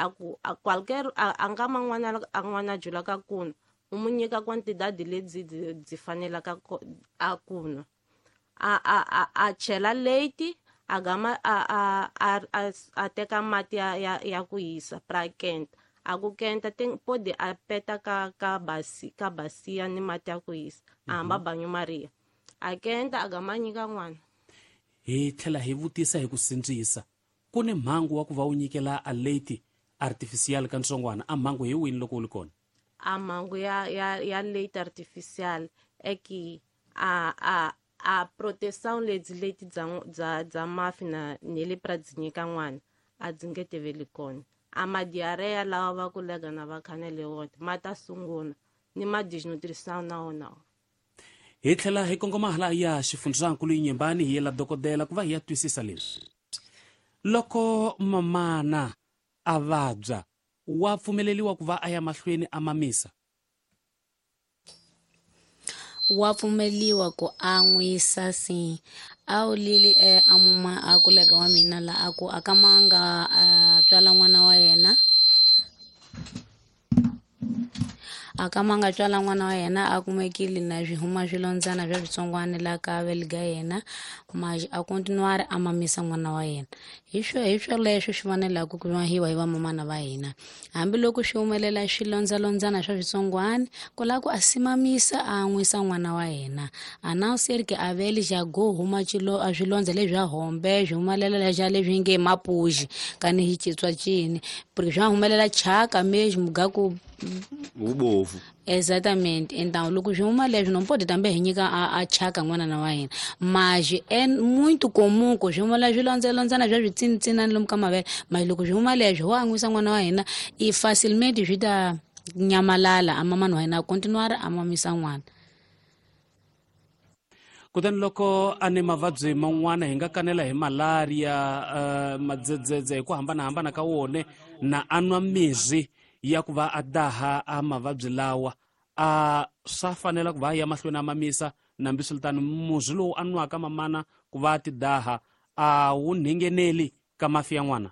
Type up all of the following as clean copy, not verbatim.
A ku a qualquer a nga man'wana a n'wana jula ka kunwa u mu nyika quantidade lebyi byi fanelaka a kunwa a chela leite a gama a teka mati ya ku hisa pra kenta a ku kenta pode a peta ka basia ni mati ya ku hisa a hamba banyo maria a kenta a gama nyika n'wana. Hi tlhela hi vutisa hi ku sindzisa ku ni mhangu wa ku va u nyikela a leite artificial ka ntsongwana a mhangu hi wini loko u li kona? A mhangu ya leite artificial eki a proteção lebyi leti bya mafi na ni le pra byi nyika n'wana a byi nge teveli kona. A ma diarrhea lawa va ku lega na va khanele wona ma ta sungula ni ma desnutrição na wona. Hi tlhela hi kongoma hala ya xifundzankulu Inhambane hi yela dokodela ku va hi ya twisisa leswi. Loko mamana a vabya wa pfumeleriwa ku va a ya mahlweni a mamisa? Wa pfumeliwa ku an'wisa si a wu lili a muma a kulega wa mina la a ku a manga a tswala n'wana wa yena a ka manga tswala n'wana wa yena a kumekile na swi huma swilondzana swa switsongwana la ka veliga yena mas a continuar a mamisa n'wana wa yena. Hi swoleswo swi fanelaka ku mahiwa hi vamamana va hina hambiloko swi humelela swilondzalondzana swa switsongwana ku lava ku a simamisa a an'wisa n'wana wa yena a não ser que a vele já go huma a swilondza leswi swa hombe swi humelela xa leswi nge mapuxi kani hi chitswa cini porque swa humelela chaka mesmo gaku ubovu. Exatamente. Então loko swi huma leswi não pode também hi nyika a chaka n'wana wa hina mas é muito comum ku swi humela swilondzalondzana swa switsinitsinani lomu ka mavele mas loko swi huma leswi ho an'wisa n'wana wa hina i facilmente swi ta nyamalala a mamani wa hina a continuar a mamisa n'wana. Kutani loko a ni mavabyi man'wana hi nga kanela hi malaria madzedzedze hi ku hambanahambana ka wona na a nwa mirhi ya ku va a daha a mavabyi lawa a swa fanela ku va ya mahlweni a mamisa nambi swiritano murhi lowu a nwaka mamana ku va a ti daha a wu nhengeneli ka mafi ya n'wana?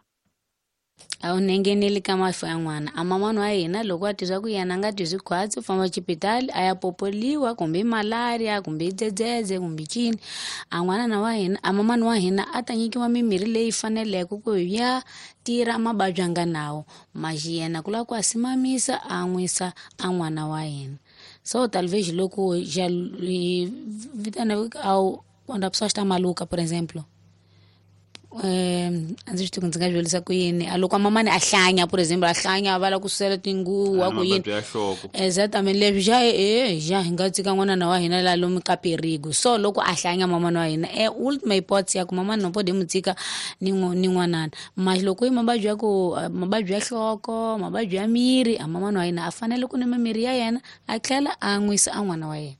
A wu nhengeneli ka mafi ya n'wana. A mamana wa hina loko a twa ku yena a nga twi khwatsi u famba xipitali a ya popoliwa kumbe i malaria kumbe i dzedzedze kumbe cini a n'wanana wa hina a mamani wa hina a ta nyikiwa mimirhi leyi faneleke ku ya tirha mavabyi a nga nawo mas yena ku lava ku a simamisa a an'wisa a n'wana wa hina. So talvez loko já vitana ao quando a pessoa está maluca, por exemplo, a ndzi swi tivi ku ndzi nga swi ku yini a loko a mamani a hlanya, por exemplo, a hlanya va lava ku susela tinguva ku yini exactamente leswi xa xa hi nga tshika n'wanana wa hina la lomu ka perigo. So loko a hlanya mamani wa hina ultima hipótese ya ku mamani no pode mu tshika ni n'wanana mas loko i mavabyi ya ku mavabyi ya nhloko mavabyi ya miri a mamani wa hina a fanele ku nwa mirhi ya yena a tlhela a nwisa a n'wana wa yena.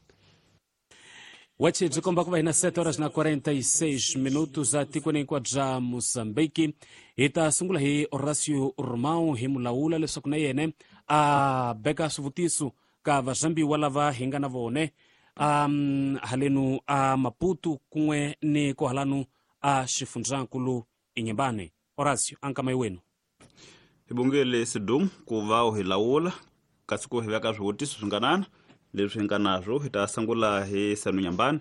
Wachi byi komba ku va hina 7 horas na 46 minutos a tikweni hinkwaro bya Mozambique. Hi ta sungula hi Horacio Romão hi mulawula leswaku na yena a beka swivutiso ka vazambiwa lava hi nga na vone halenu a Maputo kun'we ni kohalanu a xifundzankulu Inhambane. Horacio, ankama wenu. Hi bongele Sidum ku va u hi lawula kasi ku hi veka swivutiso swinganana leswi hi nga naswo. Hi ta sungula hi Sanu Nyambani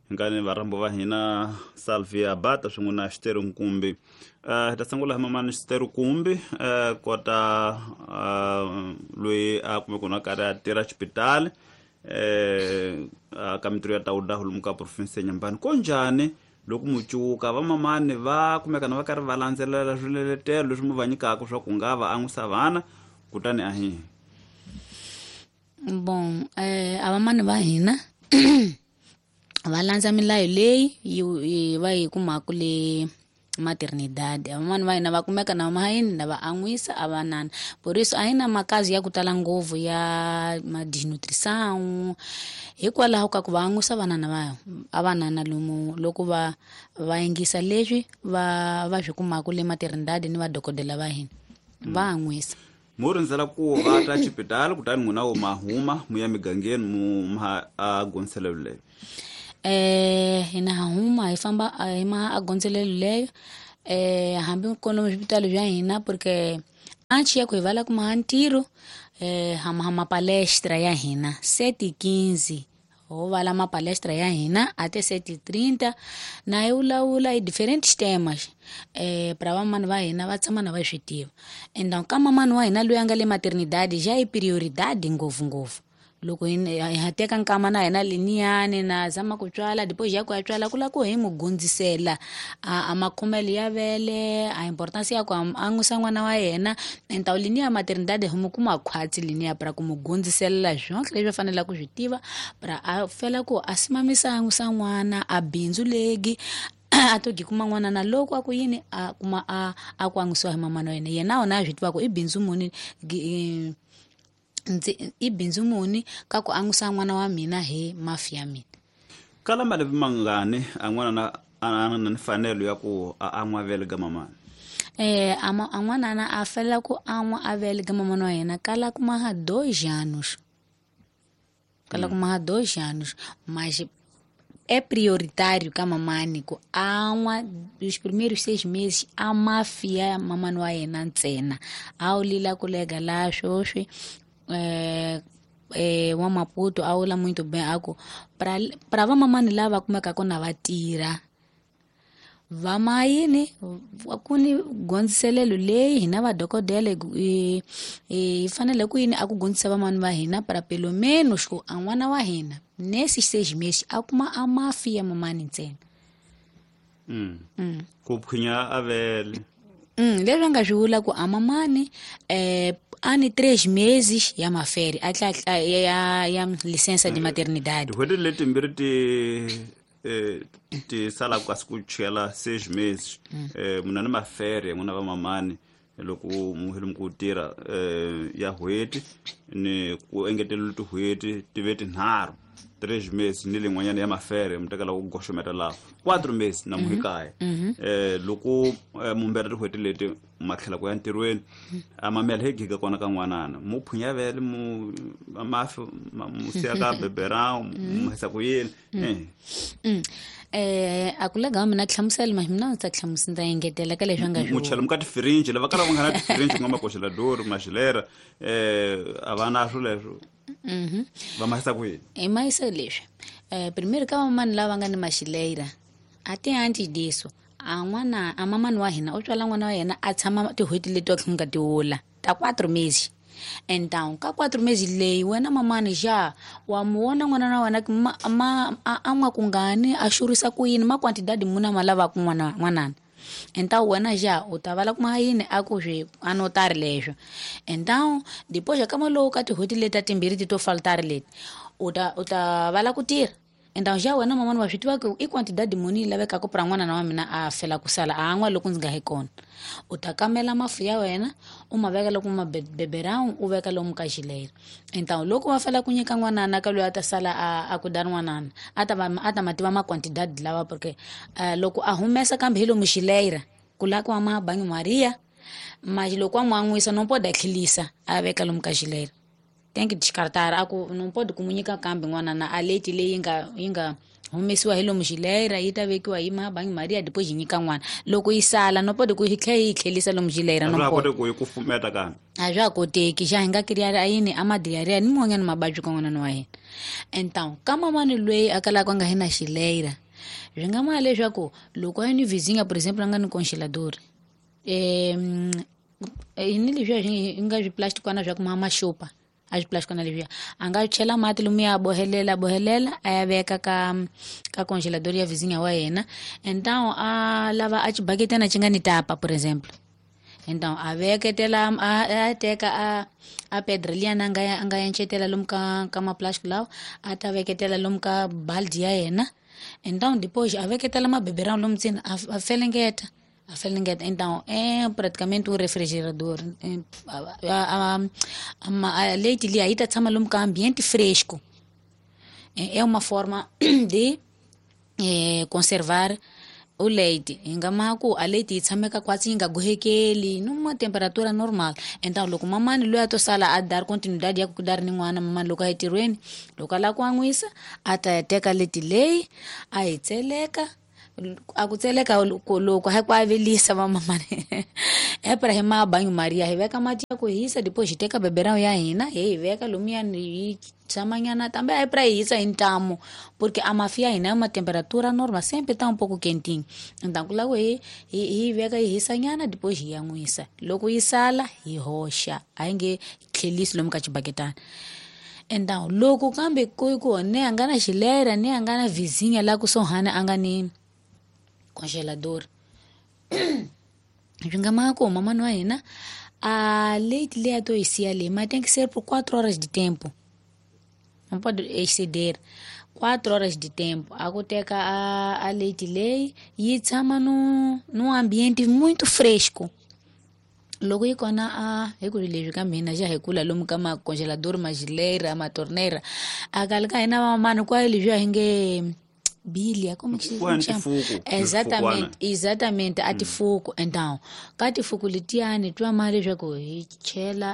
hi nga ni varhambo va hina Salvia Bata swin'we na Xiteru Nkumbi. Hi ta sungula hi mamani Xiteru Nkumbi kota loyi a kumeka na karhi a tirha xipitali ka mintirho ya tawuda lomu ka province ya Nyambani. Ko njhani loko mucuka vamamani va kumeka na va karhi va landzelela swiletelo leswi mu va nyikaka swa ku nga va an'wisa vana kutani a hi? Bon, a vamani va hina va landza milayo leyi yi va yi kumaka le maternidade. A vamani va hina va kumeka na mahayini na va an'wisa a vanana por isso a hi na makazi ya ku tala ngopfu ya ma desnutrição hikwalaho ka ku va an'wisa vanana va a vanana lomu loko va va yingisa leswi va swi kumaka le maternidade ni vadokodela va hina va an'wisa. Mu rindzela ku va ta xipitali kutani n'wina wo ma huma mu ya migangeni mu ma a gondzelelo leyo? Hina ha huma hi famba hi ma a gondzelelo leyo hambi kona swipitali bya hina porque Antes ya ku hi vala kuma ntirho hama palestra ya hina 7:15 ho vala ma palestra ya hina até 7:30 na yi vulavula hi diferentes temas para vamani va hina va tshama na va swi tiva. Então ka mamani wa hina loyi a nga le maternidade já i prioridade ngopfungopfu loko hi teka nkama na hina liniyani na zama ku tswala depois ya ku ya tswala ku la ku hi mu gundzisela a makhomelo ya vele a importance ya ku an'wisa n'wana wa yena. Então liniya maternidade hi mu kuma khwatsi liniya para ku mu gundziselela swonke leswi a faneleke ku swi tiva para a fela ku a simamisa an'wisa n'wana a bindzu legi a to kuma n'wana na loko a ku yini a kuma a ku an'wisiwa hi mamana wa yena yena wona a swi tiva ku i bindzu muni i bindzu muni ka ku an'wisa n'wana wa mina hi mafi ya mina. Kala malembe mangani a n'wana na a na mfanelo ya ku a an'wa vele ga mamana? A n'wana na a fela ku an'wa a vele ga mamana wa yena kala kuma ha 2 anos. Kala kuma ha 2 anos, mas é prioritário ka mamani ku an'wa os primeiros 6 meses a mafia mamani wa yena ntsena a wu lila ku lega la swoswi wa Maputo a wula muito bem a ku pra vamamani lava kumekaka na va tirha vamayini ku ni gondziselelo leyi hina vadokodela hi fanele ku yini a ku gondzisa vamani va hina para pelo menos ku a n'wana wa hina nesses 6 meses a kuma a mafi ya mamani ntsena. Ku phinya a vele leswi a nga swi vula ku a mamani ani 3 meses ya maferi a tla ya licença de maternidade. Tin'hweti letimbirhi ti sala kasi ku chela 6 meses munhu ni maferi n'wina va mamani loko mu ku tirha ya n'hweti ni ku engetelela tin'hweti ti ve tinharhu 3 meses ni lin'wanyana ya mafere mu tekela ku goxometa laha 4 meses na muhikaya loko mumbera tin'hweti leti ma tlhela ku ya ntirhweni a mamela hi giga kona ka n'wanana mu phunya vele mu mafi mu siya ka beberão mu hisa ku yini a ku lega mina hlamusela mas mina ndzi ta hlamusela ndza engetela ka leswi a nga swi mu chela mu ka tifirinji lava kala va nga na tifirinji ku nga makoxelador maxilera a va na swo leswo va mahisa ku yini hi mahisa leswi primeiro ka vamani lava nga ni maxileira a ti antes disso a n'wana a mamani wa hina u tswala n'wana wa yena a tshama tin'hweti leti wa nga ti wula ta 4 meses. Então ka 4 meses leyi wena mamani ja wa mu vona n'wana wa wena a n'wa kungani a xurisa ku yini ma quantidade muna ma lavaka n'wanana. Então wena ja u ta vala kuma yini a ku swi anotari leswo. Então depois ka malowu ka tin'hweti leti ta timbirhi ti to faltari leti u ta vala ku tirha. Então já wena mamani wa swi tiva ku i quantidade muni yi lavekaka pra n'wana wa mina a fela ku sala a an'wa loko ndzi nga hi kona. U ta kamela mafu ya wena u ma veka loko ma beberão u veka lomu ka xileira. Então loko va fela ku nyika n'wanana ka loyi a ta sala a ku da n'wanana a ta ma tiva ma quantidade lawa porque loko a humesa kambe hi lomu xileira ku la ku ma banho Maria mas loko a n'wi an'wisa no pode tlhelisa a veka lomu ka xileira. Tem que descartar a ku não pode comunicar kambe n'wana na a leite leyi yi nga humesiwa hi lomu xileira yi ta vekiwa hi ma banho Maria depois yi nyika n'wana loko yi sala no pode ku yi tlhela yi tlhelisa lomu xileira no pode ku yi kufumeta kambe a swa koteki xa hi nga kiriari a yini a madiarrhea ni mun'wanyana mababyi ka n'wana wa hina. Então ka mamani loyi a kalaka a nga hi na xileira swi nga ma leswaku loko a yi ni vizinha por exemplo a nga ni congelador ni leswiya swi nga swiplastikwana swa ku ma maxupa a swiplastikwana leswiya a nga chela mati lomuya a bohelela a ya veka ka congelador ya vizinha wa yena. Então a lava a xibaketana xi nga ni tapa por exemplo. Então a veketela a teka a pedra liyana a nga encetela lomu ka maplastic lawa a ta veketela lomu ka baldi ya yena. Então depois a veketela mabeberão lomu ntsena a felengeta. Então é praticamente um refrigerador. A leite ali aí tá tshama lomu ka ambiente fresco. É uma forma de conservar o leite. Hi nga ma ku a leite yi tshameka kwatsi yi nga gohekeli numa temperatura normal. Então loko mamani loyi a to sala a dar continuidade ya ku dar ni n'wana mamani loko a yi tirhweni loko a lava ku an'wisa a ta ya teka leti leyi a yi tseleka A ku tseleka loko hi ku avelisa vamamani epra hi mabanyo maria hi veka mati ya ku hisa depois hi teka beberão ya hina hi yi veka lomuyani yi tshamanyana tambe a pra hi hisa hi ntamu porque a mafi ya hina uma temperatura normal sempre tá um pouco quentinho, então ku lava hi hi veka yi hisanyana depois hi yan'wisa. Loko yi sala hi hoxa, a hi nge tlhelisi lomu ka xibaketana. Então loko kambe ku ku ne a nga na xilera ne a nga na vizinha la kusuhani a nga ni congelador, swi nga maka ku mamani wa hina a leite leyi a to yi siya leyi ma tem que ser por 4 horas de tempo, não pode exceder 4 horas de tempo. A ku teka a leite leyi yi tshama num ambiente muito fresco. Loko yi kona a hi ku leswi ka mina xa hi kula lomu ka macongelador, mageleira, matorneira, a kale ka hina vamamani kwayo leswiya hi nge bilia, como que se chama? Exatamente, exatamente, a tifuku. Então ka tifuku letiyani twa ma leswaku hi chela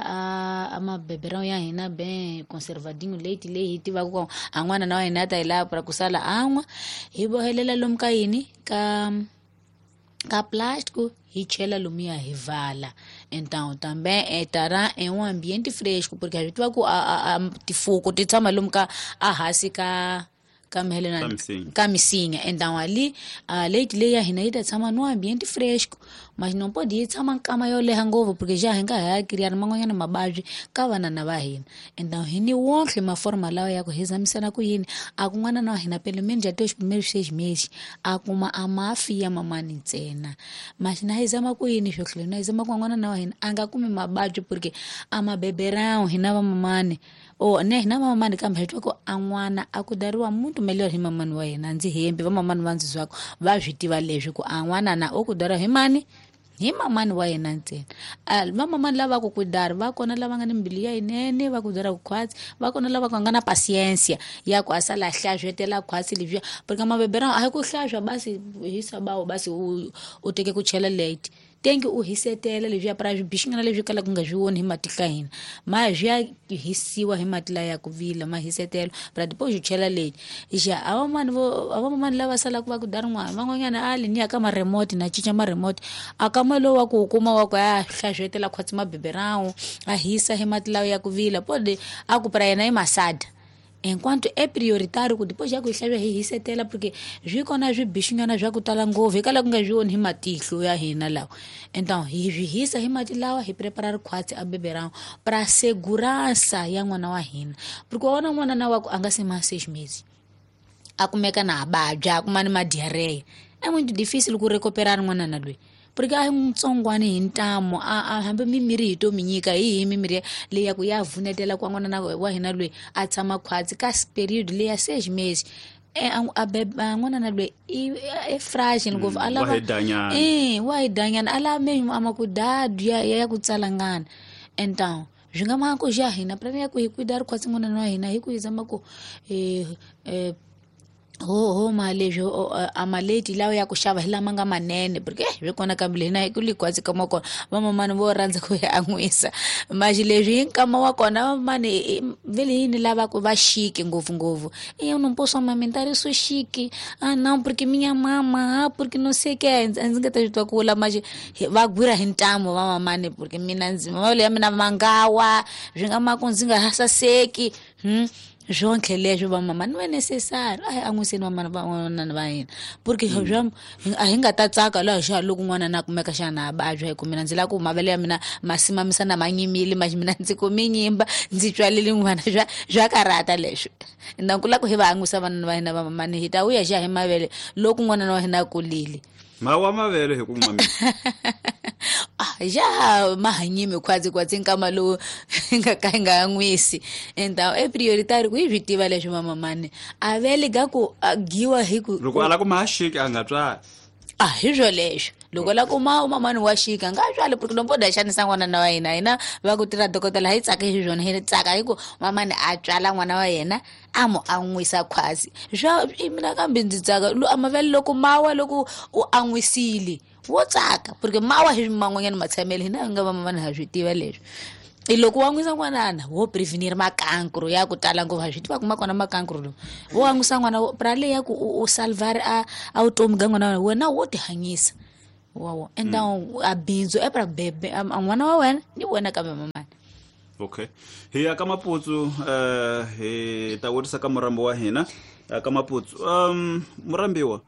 a mabeberão ya hina bem conservadinho leite leyi hi tivaka ku a n'wana na wa hina a ta yi lava pra ku sala an'wa, hi bohelela lomu ka yini ka plástico, hi chela lomuya hi vala. Então também estará em um ambiente fresco, porque a gente vai ku a tifuku ti tshama lomu ka a hansi ka ka misinya. Então ali a leite leyi ya hina yi ta tshama no ambiente fresco, mas não pode yi tshama nkama yo leha ngopfu porque já hi nga ha criar man'wanyana mavabyi ka vanana va hina. Então hi ni wonke maforma lawa ya ku hi zamisana ku yini a ku n'wana na wa hina pelo menos até os primeiros 6 meses a kuma a mafi ya mamani ntsena. Mas na hi zama ku yini swo tlhela na hi zama ku n'wana na wa hina a nga kumi mavabyi porque a mabeberão hina va mamani o ne hina mamani kambe hi twa ku a n'wana a ku dariwa muito melhor hi mamani wa yena. Ndzi hembi vamamani va ndzi zwako va swi tiva leswi ku a n'wana na o ku dariwa hi mani, hi mamani wa yena ntsena. Vamamani lava ku ku dari va kona lava nga ni mbilu ya yinene va ku dara ku khwatsi, va kona lava ku nga na pasiensia ya ku a sala hlaswetela khwatsi leswiya porque mabeberão a hi ku hlaswa basi hisa bawo basi u teke ku chela late tengi u hisetela leswiya pra swibixingana leswi kalaka ku nga swi voni hi matihlo ya hina, ma swi ya hisiwa hi mati laya ya ku vila ma hisetela pra depois u chela late. Xa a vamani vo a vamamani lava salaka va ku dari n'wana van'wanyana a li ni ya ka ma-remote na cinca ma-remote a ka ma lowu wa ku wu kuma wa ku a hlaswetela khwatsi mabeberão a hisa hi mati lawa ya ku vila pode a ku pra yena i masada. Enquanto é prioritário ku depois ya ku hi hlavya hi hisetela porque swi kona swibixinyana swa ku tala ngopfu hi kala ku nga swi voni hi matihlo ya hina lawa. Então hi swi hisa hi mati lawa hi prepara rikhwatsi a beberão pra segurança ya n'wana wa hina, porque wa vona n'wana na wa ku a nga se ma 6 meses a kumeka na a vabya a kuma ni ma-diarrhea, é muito difícil ku recuperar n'wana na loyi porque a hi ntsongwani hi ntamu a hambi mimirhi hi to mi nyika hi hi mimirhi leyi ya ku ya vunetela ku n'wana na wa hina loyi a tshama khwatsi ka period leyi ya 6 meses n'wana na loyi i fragile ngopfu a lava wa hi danyana a lava menyu a ma ku dadu ya ku tsalangana. Então swi nga maka ku xa hina plan ya ku hi kwida ri khwatsi n'wana wa hina hi ku hi zama ku ho ma leswi a maleti lawa ya ku xava hi lama nga manene porque swi kona kambe hina hi ku li khwatsi kama kona vamamani vo rhandza ku hi an'wisa maxi leswi hi nkama wa kona vamamani vele yini lava ku va chique ngopfungopfu. Eu não posso amamentar, eu sou chique. Ah, não, porque minha mama, ah, porque não sei o que. Ndzi nga ta swi twa ku vula maxi va gwira hi ntamu vamamani porque mina ndzi mavele ya mina mangawa swi nga maka ndzi nga saseki. Swonke leswi vamamani va necessary a hi an'wiseni vamani van'wana va hina porque swa a hi nga ta tsaka laha xa loko n'wana na kumeka xana a vabya hi ku mina ndzi lava ku mavele ya mina ma simamisa na ma nyimile maxi mina ndzi kumi nyimba ndzi tswalele n'wana swa karhata leswi. Então ku lava ku hi va an'wisa vanana va hina vamamani hi ta vuya xa hi mavele loko n'wana wa hina a kulile. Mawa mavele hi ku mamisa ja mahanyimi khwatsi khwatsi nkama lowu nga ka hi nga an'wisi. Então é prioritário ku hi swi tiva leswi vamamani a vele ga ku giwa hi ku loko a lava ku ma xiki a nga tswali a hi swo leswo loko la kuma mamani wa xika nga tswali porque no poda xanisa n'wana na wa hina hina va ku tirha dokotela hi tsaka hi swona hi tsaka hi ku mamani a tswala n'wana wa yena a mu an'wisa khwatsi swa mina kambe ndzi tsaka a mavele loko mawa loko u an'wisile Wo tsaka porque mawa hi man'wanyana matshamelo hina hi nga va mamani ha swi tiva leswi. I loko wa nwisa n'wanana wo prevenir makankro ya ku tala ngopfu, ha swi tiva ku ma kona makankro lowu. Wo an'wisa n'wana pra le ya ku u salvar a vutomi ga n'wana wa wena, wo ti hanyisa. Wa então a bindzu e pra bebe a n'wana wa wena ni wena kambe mamani. Okay, hi ya ka Maputsu, hi ta vutisa ka murambi wa hina ka Maputsu. Murambiwa,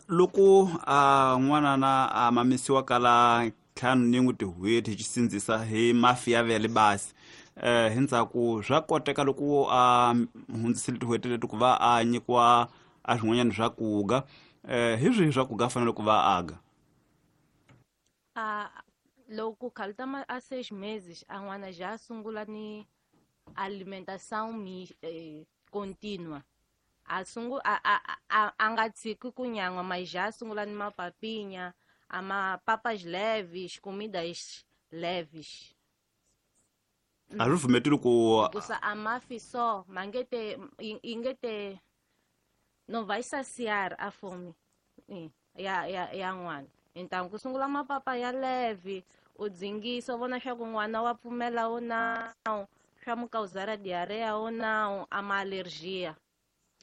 loko a n'wana na a mamisiwa kala 51 tin'hweti hi xisindzisa hi mafi ya vele basi, hi ndzhaku swa koteka loko a hundzisile tin'hweti leti ku va a nyikiwa a swin'wanyana swa kuga, hi swihi swa kuga a fanele ku va aga? A loko khalta ma a 6 meses a n'wana já sungula ni alimentação contínua. A sungu a a a a nga tshiki ku nyan'wa, mas já sungula ni mapapinya, a mapapas leves, comidas leves. A swi pfumeteli ku Hikusa a mafi so ma nge te yi nge te não vai saciar a fome ya n'wana. Então ku sungula mapapa ya leve, u dzingisa u vona swa ku n'wana wa pfumela o não, swa mu causar diarreia ou não, a ma alergia.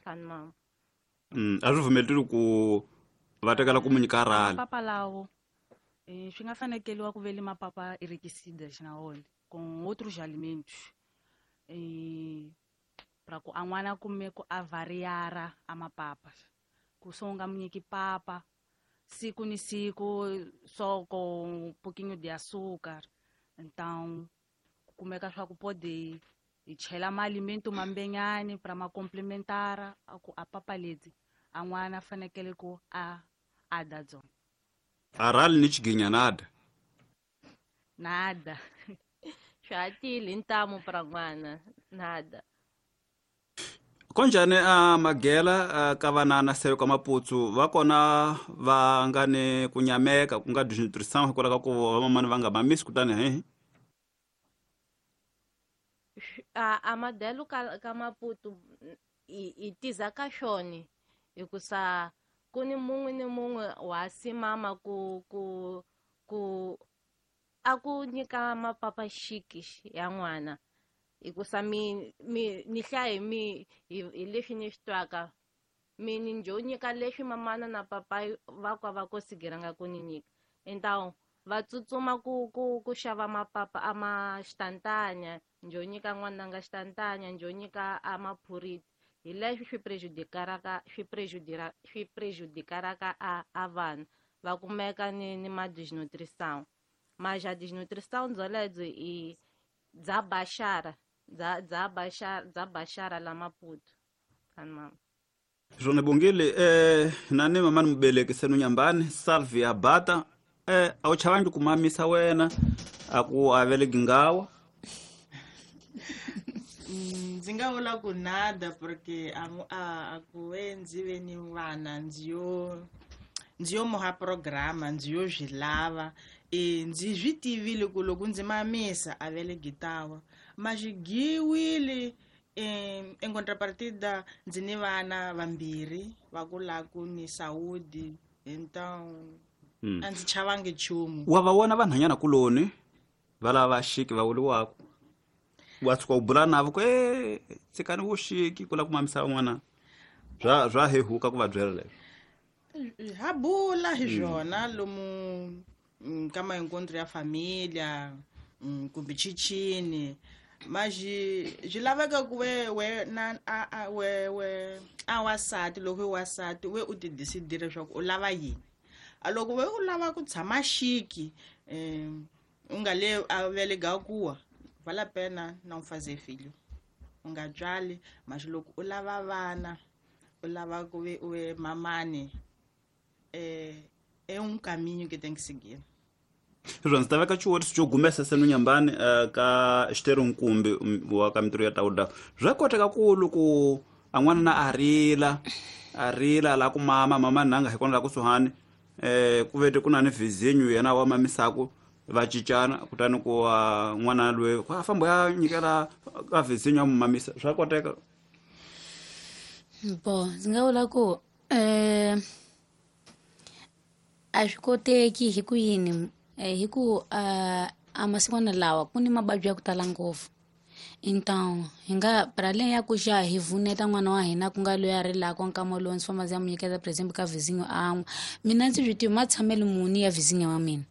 Kan mama. A swi pfumeteli ku va tekela ku mu nyika rali. Mapapa lawo swi nga fanekeliwa ku vele mapapa enriquecidas na wona com outros alimentos, pra ku a n'wana kume ku a variara a mapapa, ku so u nga mu nyiki papa siku ni siku só com um pouquinho de açúcar. Então ku kumeka swa ku pode hi chela maalimento mambenyani pra ma complementara a ku a papa leti a n'wana fanekele ku a da dzona. A rali ni xiginya nada. Nada. Swa tile ntamu pra n'wana nada. Konjhani a magela ka vanana seyo ka Maputsu va kona va nga ni ku nyameka ku nga desnutrition hikwalaho ka ku vamamani va nga mamisi kutani he? A madelo ka Maputo i tiza ka xoni hikusa ku ni mun'we ni mun'we wa simama ku ku ku a ku nyika mapapa xiki ya n'wana, hikusa mi mi ni hlaya mi hi leswi ni swi twaka mi ni njo nyika leswi mamana na papa va kwa va konsigeranga ku ni nyika. Então va tsutsuma ku ku ku xava mapapa a ma xitantanya, njo nyika n'wananga xitantanya, njo nyika a maphuriti. Hi leswi swi prejudicaraka swi prejudicaraka a vanhu va kumeka ni ma desnutrição. Mas a desnutrição byolebyo i bya baxara bya baxara bya baxara la Maputo. Kan mama. Swona bongile, na ni mamani mubeleki senu nyambani Salvia Bata, a wu chavangi ku mamisa wena a ku a veleki ngawa? Ndzi nga vula ku nada, porque a ku ve ndzi ve ni vana ndzi yo muha programa ndzi yo swi lava, ndzi swi tivile ku loko ndzi mamisa a veleki tawa ma xi giwile. Em contrapartida ndzi ni vana vambirhi va ku la ku ni saúde, então a ndzi chavangi nchumu. Wa va vona vanhwanyana kuloni va lava xiki va vuriwaka, wa tshuka u bula navo ku e tshikani vuxiki ku lava ku mamisa van'wana, swa hehuka ku va byela leswo? Ha bula hi swona lomu ka maencontro ya familia, kumbe chichini, mas swi laveka ku we we na a we we a wasati loko i wasati we u ti decidile leswaku u lava yini. A loko we u lava ku tshama xiki, u nga le a velega kuwa, vale a pena não fazer filho, u nga tswali. Mas loko u lava vana, u lava ku ve u ve mamani, é um caminho que tem que seguir. Sweswo ndzi ta veka xivutiso xo gumesa senu nyambani, ka xitero nkumbi wa ka mintirho ya tawuda. Swa koteka ku loko a n'wana na a rila a rila la ku mama mama nanga hi kona la kusuhani, ku vete ku na ni vizinyo yena wa mamisaku va cincana, kutani ku n'wana loyi a famba ya nyikela ka vizinyo ya mu mamisa, swa koteka? Bo ndzi nga vula ku A swi koteki hi ku yini, hi ku a masikwana lawa ku ni mavabyi ya ku tala ngopfu. Então hi nga para além ya ku xa hi vuneta n'wana wa hina ku nga loyi a rilaka nkama lowu ndzi famba ndzi ya mu nyiketa, por exemple ka vizinyo an'wa, mina ndzi swi tivi matshamelo muni ya vizinyo wa mina.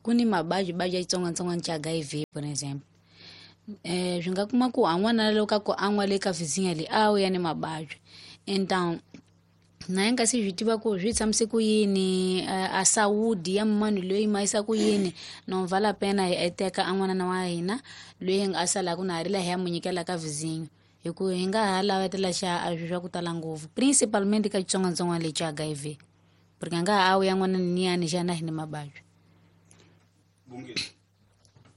Ku ni mavabyi vabyi ya xitsongwatsongwana xa HIV, por exemple. Swi nga kuma ku a n'wana loko ka ku an'wa le ka vizinyo leyi a wu ya ni mavabyi. Então na yi nga se swi tiva ku swi tshamise ku yini, a saúde ya munhu loyi ma yisa ku yini, no vala pena hi teka a n'wana wa hina loyi a salaka na ha rila hi ya mu nyikela ka vizinyo, hi ku hi nga ha lavetela xa a swi swa ku tala ngopfu, principalmente ka xitsongwatsongwana lexi xa HIV, porque a nga ha ya n'wana niyani xana hi ni mavabyi.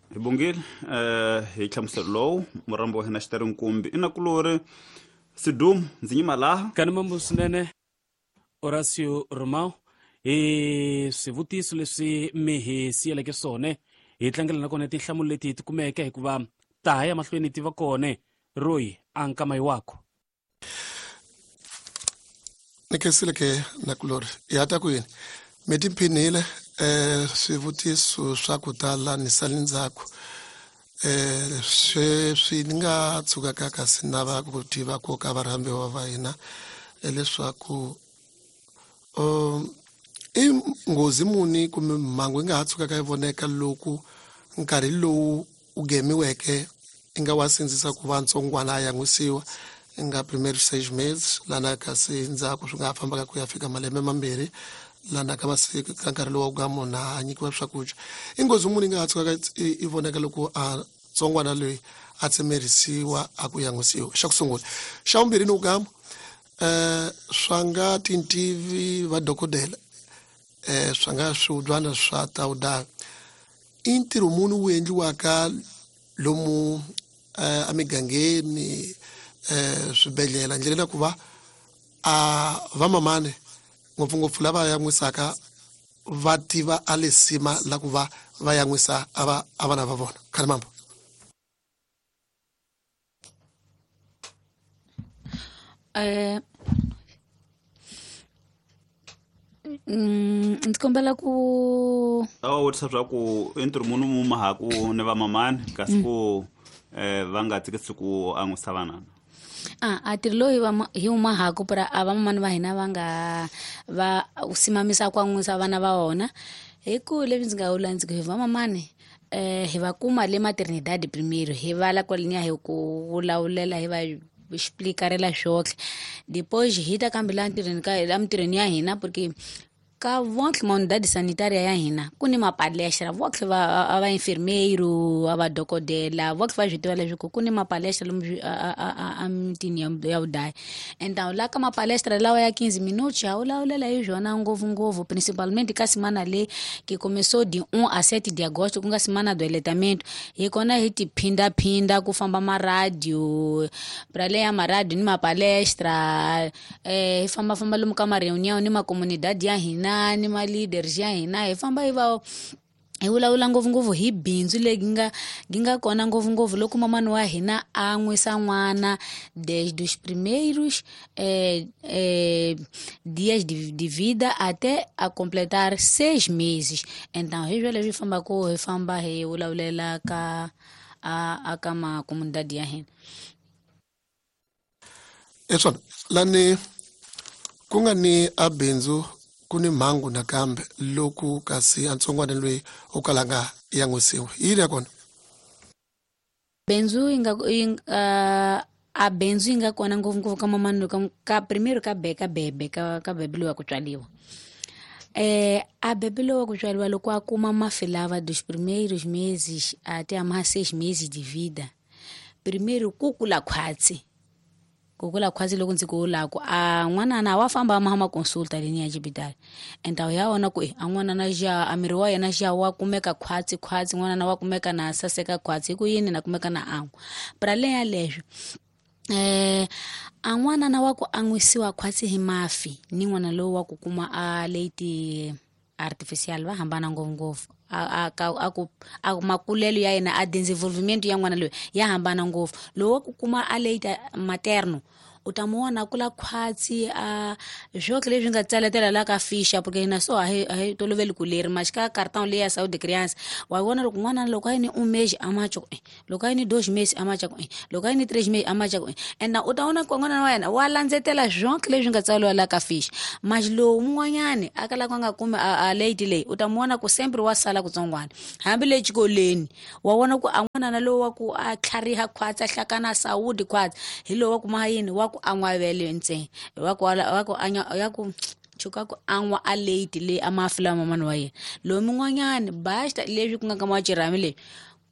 Hi bongile hi nhlamuselo lowu murambo wa hina xitari nkumbi i nakulori Sidum ndzi nyima laha. Kani mambo swinene Horacio Romao hi swivutiso leswi mi hi siyeleke swona, hi tlangela na kona tinhlamulo leti hi ti kumeke, hikuva ta ha ya mahlweni ti va kona. Royi a nkama yi wako. Ni khensile ke nakulori ya ta ku yini mi tiphinile swivutiso swa ku tala ni sali ndzhaku. Sweswi ni nga tshukaka kasi nava ku tiva ku ka varhambiwa va hina leswaku i nghozi muni kumbe mhangu yi nga ha tshukaka yi voneka loko nkarhi lowu u gemiweke i nga wa sindzisa ku va ntsongwana a yan'wisiwa nga primary 6 meses lana kasi ndzhaku swi nga ha fambaka ku ya fika malembe mambirhi lana ka masiku ka nkarhi lowu ka munhu a nyikiwa swakudya. I nghozi muni yi nga ha tshukaka i voneka loko a tsongwana loyi a tsemerisiwa a ku yan'wisiwa, xa ku sungula. Xa vumbirhi ni ku swa nga tintivi va dokodela swa nga swihubyana swa tawuda, i ntirho muni wu endliwaka lomu emigangeni swibedhlele ndlela ku va a vamamani ngopfungopfu lava yan'wisaka va tiva a lesima la ku va va yan'wisa a vana va vona. Khale mambo. Ndzi kombela ku a wa vutisa swa ku i ntirho muni mu mahaku ni vamamani kasi ku va nga tsikisi ku an'wisa vanana. A ntirho lowu hi wu mahaku pra a vamamani va hina va nga va simamisa ku an'wisa vana va vona, hi ku leswi ndzi nga vula ndzi ku hi vamamani hi va kuma le maternidade primeiro, hi vala kwaleniya hi ku vulavula hi va explicarela swotlhe, depois hi ta kambe la ntirhweni ka la mintirhweni ya hina, porque ka vontlhe maunidade sanitária ya hina ku ni mapalestra vontlhe va va enfermeiro, a va dokodela vontlhe va swi tiva leswaku ku ni mapalestra lomu a mitini ya vudaya. Então la ka mapalestra lawa ya 15 minutos ha vulavulela hi swona ngopfungopfu, principalmente ka semana leyi que começou de 1 a 7 de agosto, ku nga semana do aleitamento, hi kona hi ti phindaphinda ku famba maradio pra leya maradio ni mapalestra, hi fambafamba lomu ka ma-reunião ni macomunidade ya hina ni ma-leaders ya hina, hi famba hi va hi vulavula ngopfungopfu hi bindzu leyi nga kona ngopfungopfu loko mamani wa hina a nwisa n'wana desde os primeiros dias de vida até a completar 6 meses. Então hi swo leswi fambaka hi famba hi vulavulela ka a ka macomunidade ya hina. Eswona lani ku nga ni a bindzu ku ni mhangu nakambe loko kasi a ntsongwana loyi o kalanga yan'wisiwa yini ya kona. Bindzu yi nga a bindzu yi nga kona ngopfungopfu ka mamani ka primeiro ka ka bebe ka bebe loyi wa ku tswaliwa. A bebe loyi wa ku tswaliwa loko a kuma mafi lava dos primeiros meses até a mais 6 meses de vida, primeiro ku kula khwatsi. Ku kula khwatsi loko ndzi ku vulaku a n'wanana wa famba a ma consulta leni ya xibedhlele, enta ya vona ku a n'wanana xa a miri wa yena xa wa kumeka khwatsi khwatsi, n'wanana wa kumeka na saseka khwatsi hi ku yini na kumeka na an'wa. Pra além ya leswo a n'wanana wa ku an'wisiwa khwatsi hi mafi ni n'wana lowu wa ku kuma a leite artificial va hambana ngopfungopfu. A makulelo ya yena a desenvolvimento ya n'wana loyi ya hambana ngopfu. Lowu wa ku kuma a leite materno U ta mu vona kula khwatsi a swoke leswi nga tsaletela la ka ficha, porque hina so a hi toloveli ku leri mas ka cartão leyi ya saúde criança wa vona loko n'wana loko a yi ni 1 mês a macha ku loko a yi ni 2 meses a macha ku loko a yi ni 3 meses a macha ku and u ta vona ku n'wana wa yena wa landzetela swonke leswi nga tsariwa la ka ficha. Mas lowu mun'wanyani a kalaka a nga kumi a late leyi, u ta mu vona ku sempre wa sala kutsongwana hambi le xikolweni wa vona ku a n'wanana lowu wa ku a tlhariha khwatsi a hlakana saúde khwatsi hi lowu wa kuma yini wa ku an'wa vele ntsena wa ku wa ku anya ya ku chuka ku an'wa a late leyi a mafi lama mamani wa yena. Lowu mun'wanyani basta leswi ku nga ka machirhami leyi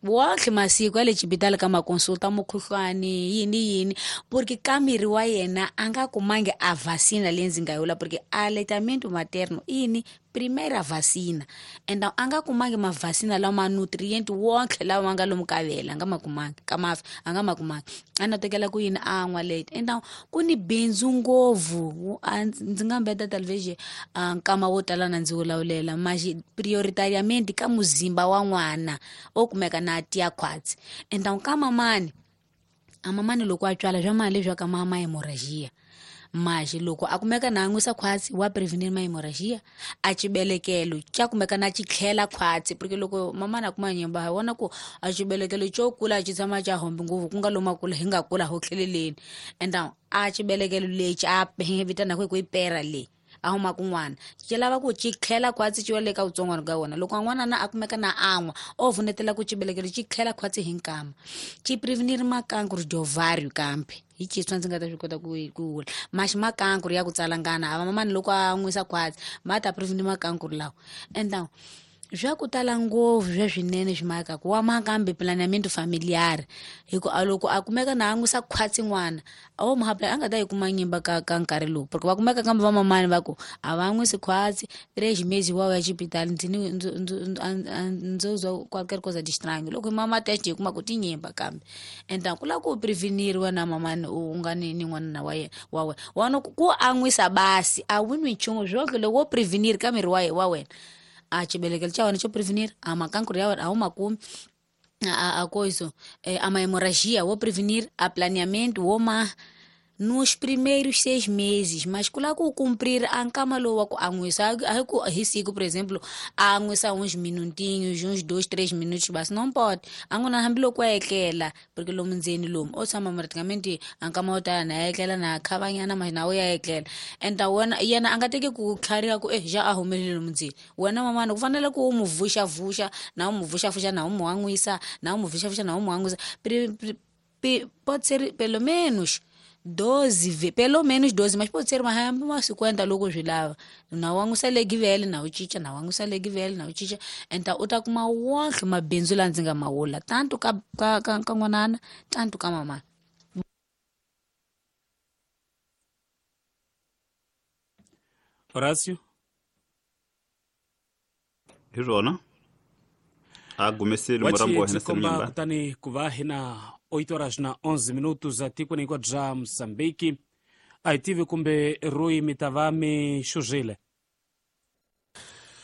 wonke masiku ya le xibedhlele ka makonsulta mukhuhlwani yini yini, porque ka miri wa yena a nga kumangi a vacina leyi ndzi nga yi vula, porque aleitamento materno ini primeira vacina and a nga kumangi mavacina lama nutrient wonke lawa nga lomu ka vele a nga ma kumangi ka mafi a nga ma kumangi a na tekela ku yini a nwa late. And ku ni bindzu ngopfu ndzi nga mbeta television nkama wo tala na ndzi vulavulela maxi prioritariamente ka muzimba wa n'wana o kumeka na tiya khwatsi. And ka mamani a mamani loko a tswala swa mali leswi ka mama hemorrhagia maxi loko a kumeka na an'wisa khwatsi wa prevenir ma hemorrhagia a xibelekelo xa kumeka na xitlhela khwatsi, porque loko mamana a kuma nyimba hi vona ku a xibelekelo xo kula xi tshama xa hombi ngopfu ku nga lomu kula hi nga kula ho tlheleleni. And a xibelekelo lexi a vitanaka ku i pera leyi a huma kun'wana xi lava ku xi tlhela khwatsi xi wa le ka vutsongwana ka wona. Loko n'wana na a kumeka na an'wa o vunetela ku xibelekelo xi tlhela khwatsi hi nkama xi prevenir makankuru ovário kambe hi xiswa ndzi nga ta swi kota ku vula maxi makankuru ya ku tsalangana a mamani loko a nwisa khwatsi ma ta prevenir makankuru lawa. And swa ku tala ngopfu swa swinene swi makaku wa makambe planeamento familiar hi ku loko a kumeka na an'wisa khwatsi n'wana a wo muhapula a nga ta yi kuma nyimba ka nkarhi lowu, porque va kumeka kambe va mamani va ku a va nwisi khwatsi 3 meses wa ya xibedhlele ndzi ni ndzo zwa qualquer coisa de estranho loko mama test hi kuma ku ti nyimba kambe. And ku lava ku preveniriwa na mamani u nga ni n'wana wa yena wa wena wana ku an'wisa basi a wu nwi nchumu swoke loko wo prevenir ka miri wa wena a xibelekelo xa wena xo prevenir a makankuru ya wena a wu makumi a coisa a hemorragia wo prevenir a planeamento wo ma nos primeiros 6 meses, mas ku lava ku cumprir a nkama lowu wa ku an'wisa a hi ku hi siku por exemplo a an'wisa uns minutinhos uns 2 3 minutos basi não pode a n'wana hambi loko a etlela, porque lomu ndzeni lomu o tshama praticamente a nkama wo tala na etlela na khavanyana mas na wo ya etlela. And wena yena a nga teki ku tlhariha ku ja a humelele lomu ndzeni wena mamana ku fanele ku u mu vuxavuxa na u mu vuxavuxa na u mu an'wisa na u mu vuxavuxa na u mu an'wisa pode ser pelo menos 12, pelo menos 12, mas pode ser uma 50 loko swi lava na wa n'wisa legi vele na u cinca na wa n'wisa legi vele na u cinca. And u ta kuma wonke mabindzu la ndzi nga ma vula tanto ka ka ka n'wanana tanto ka mamana. Horacio hi swona a gumeseli murambo wa hina Senyamba kutani ku va hina 8 horas na 11 minutos atikweni hinkwaro bya Mozambique. A hi tivi kumbe Rui mi ta va mi xuzile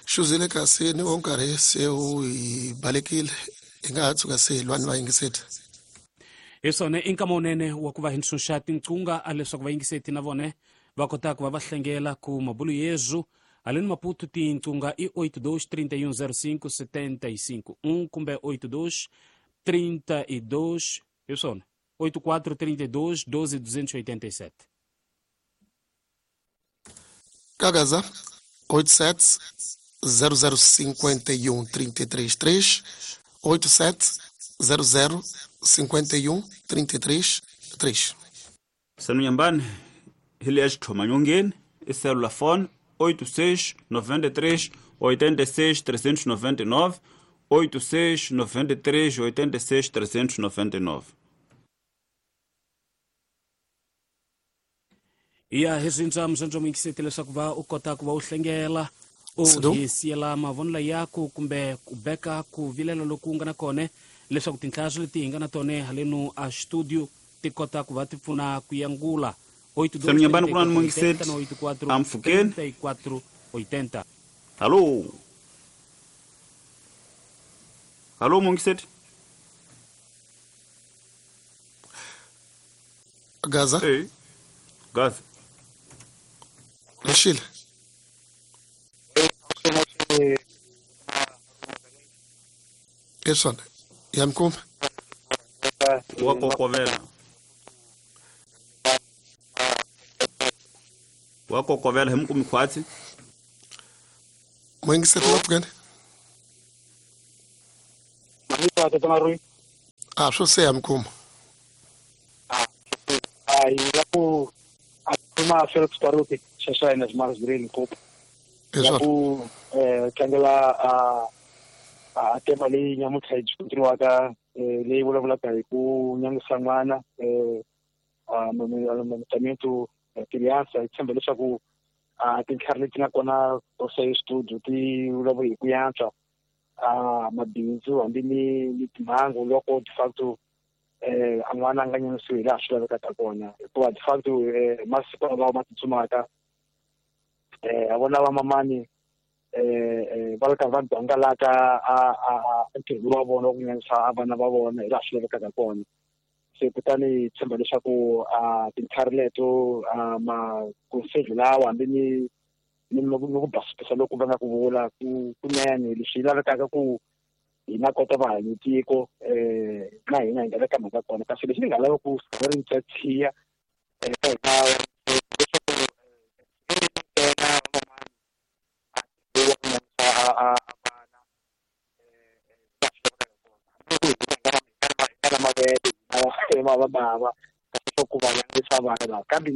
xuzile kasi ni wo nkarhi se wu hi balekile hi nga ha tshuka se hi lwani vayingiseti. Hi swona i nkama wunene wa ku va hi ntshunxa tinqunga a leswaku vayingiseti na vone va kota ku va va hlengela ku mabulu yezu haleni Maputo tinqunga i 82 31 05 75 1 kumbe 82 32 hi swona 84 32 12 287. Kagaza 87 0051 33 3 87 00 51 33 3. Senyambani hi le ya xitlhomanyongeni i cellular phone 86 93 86 399 86 93 86 399. Ya hi swintshwa muzondzo muyingiseti leswaku va u kota ku va u hlengela u hi siyela mavonelo yaku kumbe ku beka ku vilela loku nga na kona leswaku tinhlayo leti hi nga na tona haleno a studio ti kota ku va ti pfuna ku yangula. 82 kuna ni muyingiseti amfukeni 34 80. Halo halo muyingiseti Gaza. Hey. Gazi Lexile Esona ya mkuma wa kokovela wa kokovela hi mukumi khwatsi mwingiseri la pfukeni a swo se ya mukuma a hi la ku a kuma Felix Baruti xaxa ina Maris Green Cup la ku tlangela a tema leyi nyamuntlha yi diskutiwaka leyi vulavulaka hi ku nyangisa n'wana amamentamiento criança hi tshemba leswaku tintlhari leti nga kona to studio ti vulavula hi ku yantswa mabindzu hambi ni timhangu loko de facto a n'wana a nga nyangisiwi hi laha swi lavekaka kona hikuva de facto masiku lawa ma tsutsumaka a vona vamamani va ri karhi va dangalaka a ntirho wa vona wa ku nyangisa vana va vona hi laha swi lavekaka kona. Se kutani hi tshemba leswaku tintlhari leto makonsejo lawa hambi ni ku basisa loko va nga ku vula ku kunene leswi lavekaka ku hina kota va hanyi tiko na hina hi nga veka mhaka kona. Kasi lexi ni nga lava ku ri tshiya eka hina leswaku ntsena van'wana a vana va va bava kasi swa ku va langisa vana lava kambe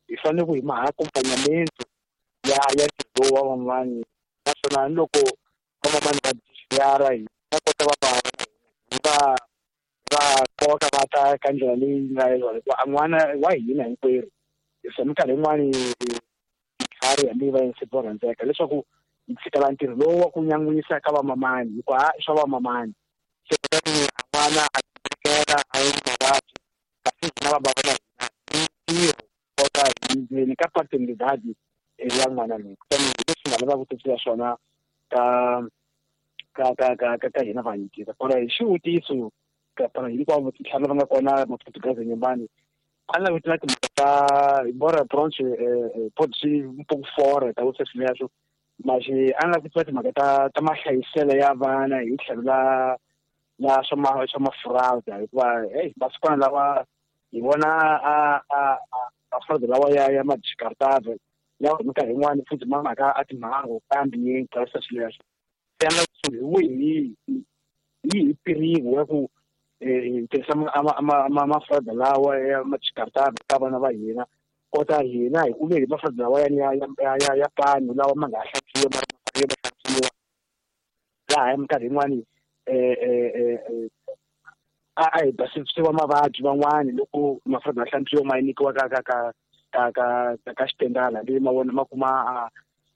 hi fanele ku hi ma accompagnamento ya ntirho wa van'wani naswona ni loko van'wani va yara hi va kota va bava va va koka va ta ka ndlela leyi nga yona hikuva a n'wana wa hina hinkwerhu se minkarhi yin'wani tintlhari hambi va yinse va rhandzeka leswaku hi tshikela ntirho lowu wa ku nyangwisa ka vamamani hikuva i swa vamamani. Se kutani a n'wana a tikela a yi mavabyi kasi hina va bava na hina hi ntirho kota hi ndzeni ka paternidade ya n'wana loyi. Kutani hi leswi nga lavaka ku twisisa swona ka ka ka ka ka ka hina vanyikisa kona hi xivutiso ka hinkwavo tintlhari lava nga kona maportuguese nyumbani a ni lavi na timhaka ta embora pronto pode ser um pouco fora ta você sweswo mas a ni lavi ku tiva timhaka ta mahlayiselo ya vana hi tlhelo la swa mafurauda hikuva hey masikwana lawa hi vona a mafurauda lawa ya madiscartave lawa minkarhi yin'wani futhi ma mhaka a timhangu kambe yi tsarisa swileswo. Se a ni lava ku hi wihi hi pirigo ya ku tirhisa mafurauda lawa ya madiscartave ka vana va hina kota hina hi kuve hi mafurauda lawa ya pano lawa ma nga ha hlantswiwa ma ma hlantswiwa laha minkarhi yin'wani a hi basisiwa mavabyi van'wani loko mafurauda ya hlantswiwa ma nyikiwa ka ka ka ka ka ka xitendala leyi ma vona ma kuma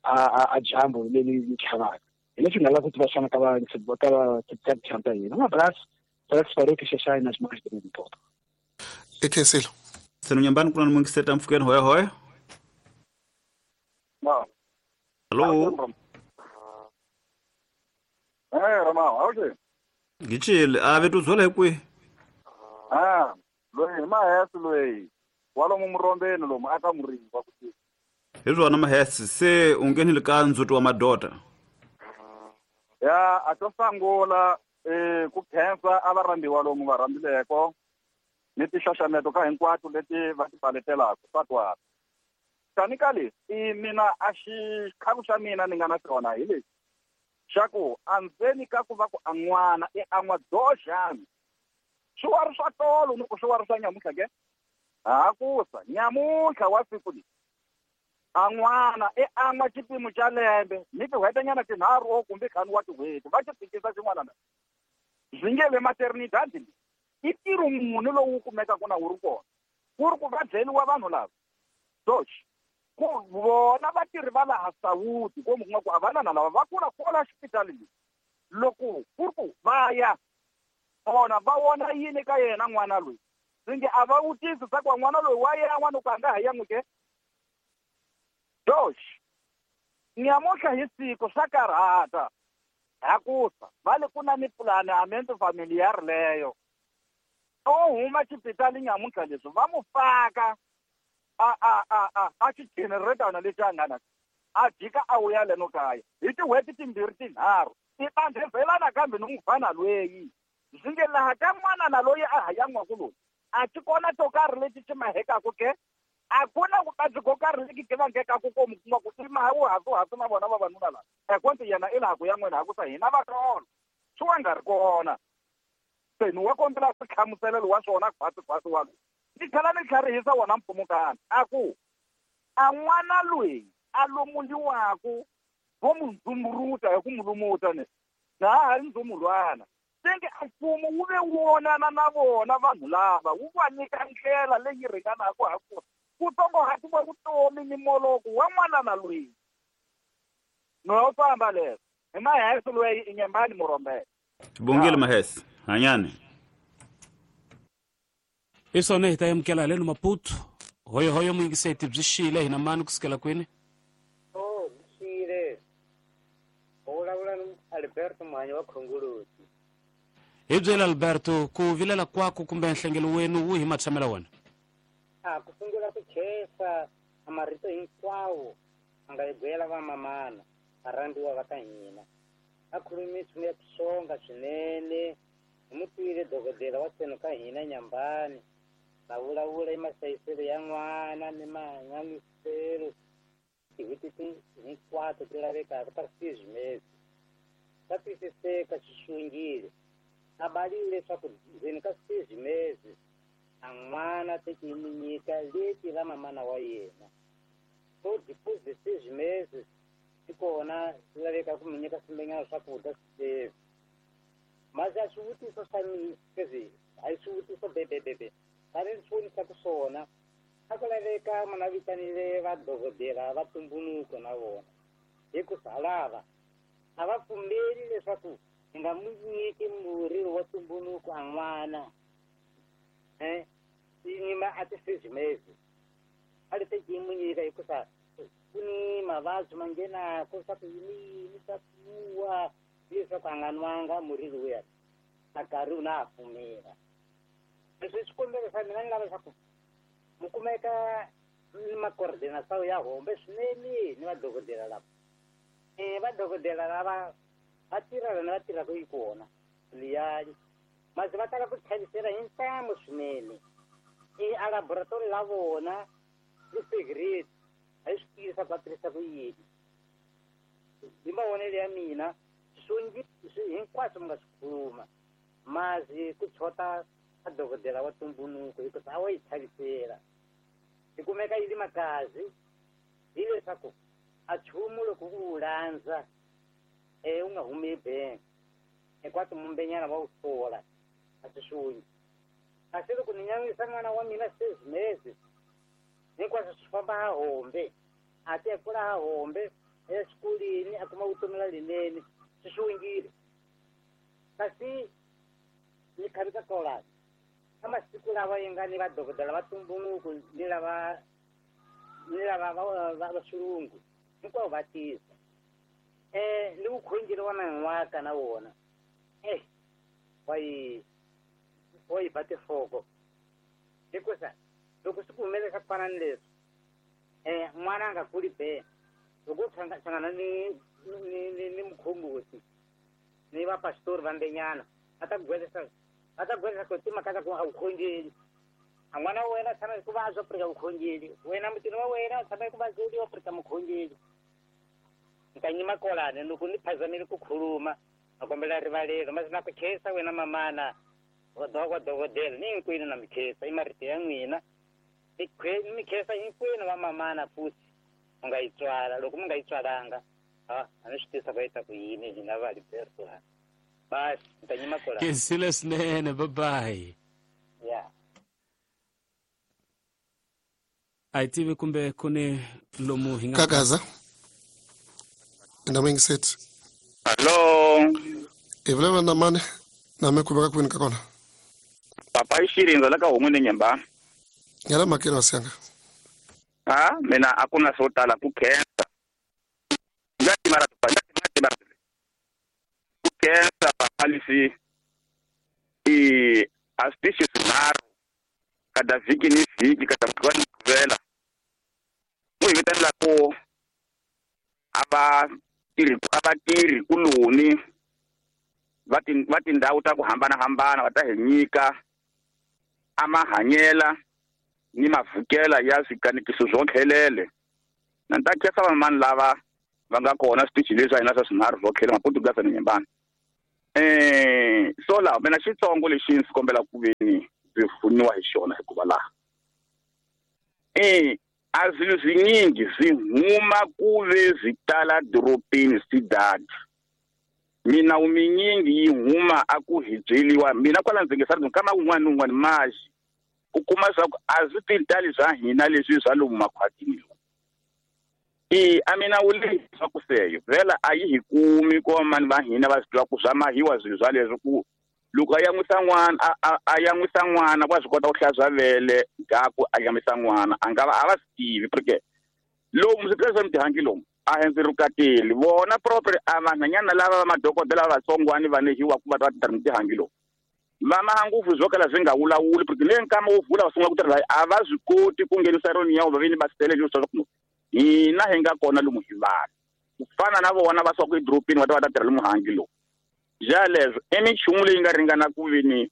a dyambu leri tlhavaka. Hi leswi nga lava ku tiva swona ka va ka va ta hina. Um abraço para que parou que xaxai nas mãos de Limpopo. Ekhensile. Senu nyambani kuna mwingiseta mfukeni hoya hoya. No. Hello. Rama, awuje. Ngichile, ave tuzwela kwi. Loyi mahesi loyi. Walomu murombeni lomu aka murimba kuti. Hizwona mahesi se ungeni ka ndzhuti wa madota. Ya a to sangula ku khensa a va rhambiwa lomu va rhambileko ni tixaxameto ka hinkwato leti va ti paletelaka swa twala. Tani ka leswi i mina a xikhaku xa mina ni nga na xona hi lexi xa ku andzeni ka ku va ku a n'wana i an'wa doxani swi wa ri swa tolo ni ku swi wa ri swa nyamuntlha ke hakusa nyamuntlha wa siku leri a n'wana i an'wa xipimo xa lembe ni tin'hwetinyana tinharhu o kumbe ntlhanu wa tin'hweti va xi fikisa xin'wana na swi nge le maternidade leyi i ntirho muni lowu kumekaka na wu ri kona ku ri ku va byeliwa vanhu lava dox ku vona vatirhi va laha Sawuti ko mi kuma ku a vanana lava va kula kwala xipitali leyi loko ku ri ku va ya vona va vona yini ka yena n'wana loyi swi nge a va vutisi swa ku n'wana loyi wa yan'wa ni ku a nga ha yan'wi ke dox nyamuntlha hi siku swa karhata hakusa va le ku na ni planeamento familiar leyo o huma xipitali nyamuntlha leswi va mu faka A xigeneretana lexi a nga na a jika a vuya leno kaya hi tin'hweti timbirhi tinharhu i andhezelana kambe ni mufana lweyi ndzi nge laha ka n'wana na loyi a ha yan'waku loyi a ti kona to karhi leti ti mahekaku ke a ku na vuvabyi ko karhi leki ti vangekaku ko mi kuma ku i maha wu hasuhasu na vona vavanuna lava ekonti yena i laha ku ya n'wina hakusa hina vatolo swi wa nga ri kona se ni wa kombela hlamuselelo wa swona khwasikhwasi wa loyi ni tlhela ni tlharihisa wona mpfumukana a ku a n'wana loyi a lomuliwaku vo mu ndzumburuta hi ku mu lumuta ni na ha ri ndzumulwana senge a mfumo wu ve wonana na vona vanhu lava wu va nyika ndlela leyi ringanaka ha kona ku tsongohatiwa vutomi ni moloko wa n'wana na loyi no famba leswo hi Mahese loyi i Nyembani Murombele. Bongile Mahese hanyani. Hi swona hi ta amukela haleno Maputo. Hoyohoyo muyingiseti byi xile hina mani kusukela kwini? Oh, byi xile. U vulavula ni Alberto Mhanyi wa Khongoloti. Hi byela Alberto, ku vilela kwaku kumbe nhlengelo wenu wu hi matshamela wona? A ku sungula ku khensa a marito hinkwawo a nga hi byela vamamana varhandziwa va ka hina. A khulume nchumu ya ku xonga swinene. Hi mu twile dokodela wa tseno ka hina Nyambani va vulavula hi mahlayiselo ya n'wana ni mahanyiselo tin'hweti hinkwato ti lavekaka ta 6 meses. Swa twisiseka swi xongile. A balile leswaku ndzeni ka 6 meses a n'wana teki yi mu nyika leti ra mamana wa yena. So depois de 6 meses ti kona swi laveka ku mu nyika swimbenyana swakudya sweswi. Mas a swivutiso swa mina sweswi a hi swivutiso bebebebe tani ni swi vonisaka swona a ku laveka munhu a vitanile vadokodela va tumbunuko na vona hikusa lava a va pfumeli leswaku hi nga mu nyiki murhi wa tumbunuko a n'wana nyima a ti 6 meses a li teki yi mu nyika hikusa ku ni mavabyi ma nghenaka swa ku yini yini swa kuwa leswaku a nga nwanga murhi lowuya a nkarhi wu na a pfumela. Leswi xikombelo xa mina ni lava leswaku mu kumeka ni macoordinação ya hombe swinene ni vadokodela lava. Vadokodela lava va tirha lana va tirhaka yi kona liyani masi va tala ku chavisela hi ntamu swinene. A laboratory la vona li secret a yi swi tivi leswaku va tirhisa ku yini. Hi mavonelo ya mina swongi hinkwaswo mi nga swi khuluma masi ku chota a dokodela wa tumbunuko hikuva a wa yi chavisela. Yi kumeka yi li makazi hileswaku a nchumu loko u wu landza u nga humi ebank hinkwato mumbenyana va wu sola a swi xongi. Kasi loko ni nyanyisa n'wana wa mina 6 meses hinkwaswo swi famba ha hombe a ti kula ha hombe exikolweni a kuma vutomi la linene swi xongile. Kasi ni khavisa kolani ka masiku lawa yi nga ni vadokodela va tumbunuko ni lava va xilungu hinkwavo va tisa ni vukhongeri wa man'waka na wona wa yi ba tinhloko hikusa loko swi ku humelela ku fana ni leswi n'wana a nga kuli be loko u hlangana ni mukhongoti ni vapasitori va mbenyana a ta gwelesa ku timhaka ta ku a vukhongeri a n'wana wa wena tshama hi ku vabya purika vukhongeri wena mutini wa wena tshama hi ku vabyeriwa purika mukhongeri. Ni ta nyima kolani loko ni phazamile ku khuluma a kombela rivalelo masi na ku khensa wena mamana wa dokodela ni hinkwenu na mi khensa i marito ya n'wina ni mi khensa hinkwenu va mamana futhi u nga yi tswala loko mi nga yi tswalanga a ni swi tivisa ku yi ta ku yini hina va Alberto la basi ni ta nyima kolani. Khensile swinene bye bye. Yeah. A hi tivi kumbe ku ni lomu hi nga Kakaza na muyingiseti. Hello. Hi vulavula na mani na mi kumeka kwini ka kona? Papa i Xirindza la ka Homu ni Nyembani. Ngela makelo wa Ah, mina a ku na swo tala ku khensa. Ku khensa papa lexi i a switichi swinharhu kada vhiki ni vhiki kada mugqivela ni mugqivela va tirhi kuloni va tindhawu ta ku hambanahambana va ta hi nyika a mahanyela ni mavhukela ya swikanekiso swo tlhelele. Na ni ta khensa vamani lava va nga kona switichi leswi hina swa swinharhu swo tlhela Maputo na Nyembani. So laha mina xitsongo lexi ndzi kombela ku veni ndzi pfuniwa hi xona hikuva laha a swilo swinyingi swi huma ku ve swi tala doropeni swidadi. Minawu minyingi yi huma a ku hi byeliwa mina kwala ndzi nge sari kama un'wana ni un'wana maxi u kuma swa ku a swi titali swa hina leswi swa lomu makhwatini lomu. A minawu leyi swa ku seyo vhela a yi hi kumi ko mani va hina va swi tiva ku swa mahiwa swilo swa leswi ku loko a yan'wisa n'wana a yan'wisa n'wana wa swi kota ku hlantswa vele gaku a yan'wisa n'wana a nga va a va swi tivi porque lomu swiphiqo swa mitihangi lomu a hi ndzi rhukateli vona proper a vanhwanyana lava va madokodela vatsongwani va nehiwa ku va ta va tirha mitihangi lomu va maha ngopfu swo kala swi nga wulawuli porque le nkama wo vula va sungula ku tirha a va swi koti ku nghenisa roni ya va vini va sele leswi swa ku hina hi nga kona lomu hi vanhu ku fana na vona va suka edorobeni va ta va ta tirha lomu hangi lomu. Jaleswo i minchumu leyi nga ringana ku vini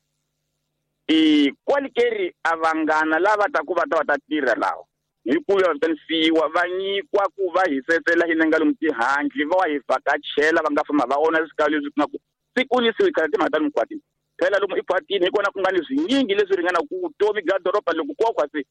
kwalikeri a vanghana lava taku va ta va ta tirha lawa hi ku ya vitanisiwa va nyikwa ku va hisetsela hina nga lomu tihandle va hi vhakachela va nga famba va vona swikalo leswi nga ku siku ni siku khale timhaka ta lomu khwatini phela lomu ekhwatini hi kona ku nga ni swinyingi leswi ringana ku vutomi bya doroba loko ku wa khwatsi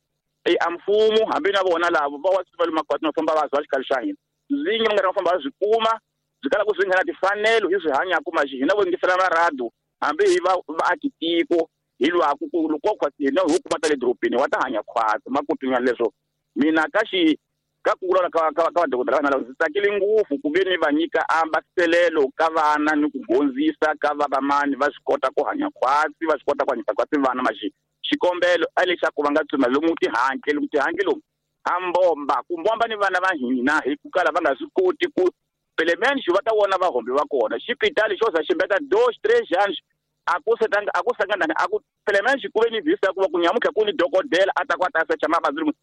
a mfumo hambi na vona lavo va wa swi va lomu makhwatini va famba va zwa xikalo xa hina zingi va nga ri va famba va swi kuma byi kala ku swi nghena timfanelo hi swi hanyaka maxi hina vo yingisela marado hambi hi va vaakitiko hi lwaku ku loko khwatsi hina ho kuma ta le dorobeni wa ta hanya khwatsi makutunyana leswo mina ka xi ka ku vulavula ka vadokodela vana lava ndzi tsakile ngopfu ku ve ni va nyika ambaselelo ka vana ni ku dyondzisa ka vavamani va swi kota ku hanya khwatsi va swi kota ku hanyisa khwatsi vana maxi xikombelo a lexaku va nga tsuma lomu tihantle lomu tihantle lomu a mbomba ku mbomba ni vana va hina hi ku kala va nga swi koti ku pelemente va ta vona vahombi va kona xipitali xo za ximbeta 2 3 anos a ku setanga a ku sangana a ku pelemente ku ve ni visa ku va ku nyamutlha ku ni dokodela a ta ku a ta secha mavabyi lomu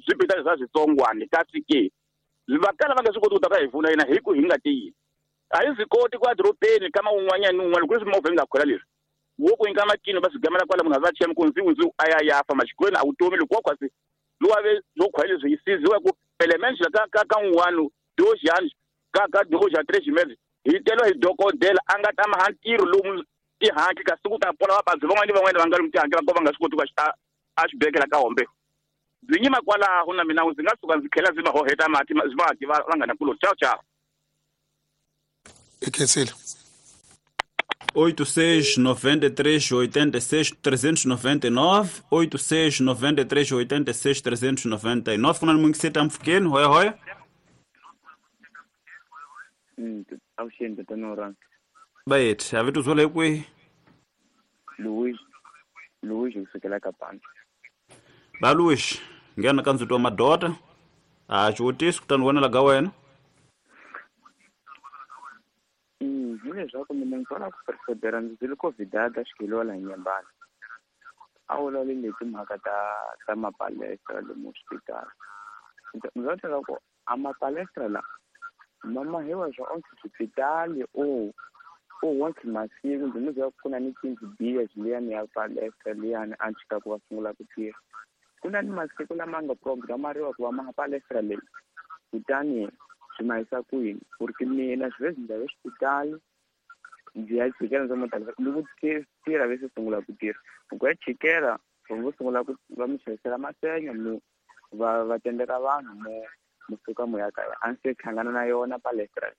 swipitali swa switsongwani kasi ke va kala va nga swi koti ku ta va hi pfuna yena hi ku hi nga tiyini a hi swi koti ku ya dorobeni kama un'wanyana ni un'wana ku ri swimovha yi nga khwela leswi wo ku nyika makini va swi gamela kwala munhu a va chema ku ndzi a ya ya fa maxikolweni a vutomi loko wa khwatsi lowa ve swo khwela leswi yi siziwa ku pelemente ka un'wana 2 anos ka 2 a 3 meses hi telo hi dokodela a nga ta maha ntirho lomu tihanki kasi ku ta pona vababyi van'wana ni van'wana va nga lomu tihanki va ko va nga swi koti ku a xibekela ka hombe ndzi nyima kwalaho na mina ndzi nga suka ndzi tlhela ndzi va hoheta mati vaki va nga na kuloni. Ciao ciao. I khensile. 86 93 86 399 86 93 86 399 kuna ni mungiseta mpfukeni hoya hoya. Avuxeni tatana. Bayet, a vito zola kwihi? Luis kusukela ka Panda. Ba Luis, nghena ka ndzhuti wa madoda. A xivutiso kutani wena laga wena. Hi leswaku mina ndzi vona ku preferera ndzi byele Covid-a xikeliwa laha Nyembani. A vulavuli hi timhaka ta mapalestra lomu xipitala. Ndzi va byela ku a mapalestra la ma mahiwa swa onke xipitali o onke masiku ndzi mi byela ku na ni tindlu biya liyani ya palestra liyani a chika ku va sungula ku tirha. Ku na ni masiku lama nga programariwa ku va ma palestra leyi kutani swi mahisa ku yini porque mina swi ndzi ya xipitali ndzi ya chikela ndzi mutala loko tirha ve se sungula ku tirha ku ya chikela vo sungula ku va mi xavisela masenya mu va tendeka vanhu mu musuka mu ya kaya a ndzi se hlangana na yona palestra.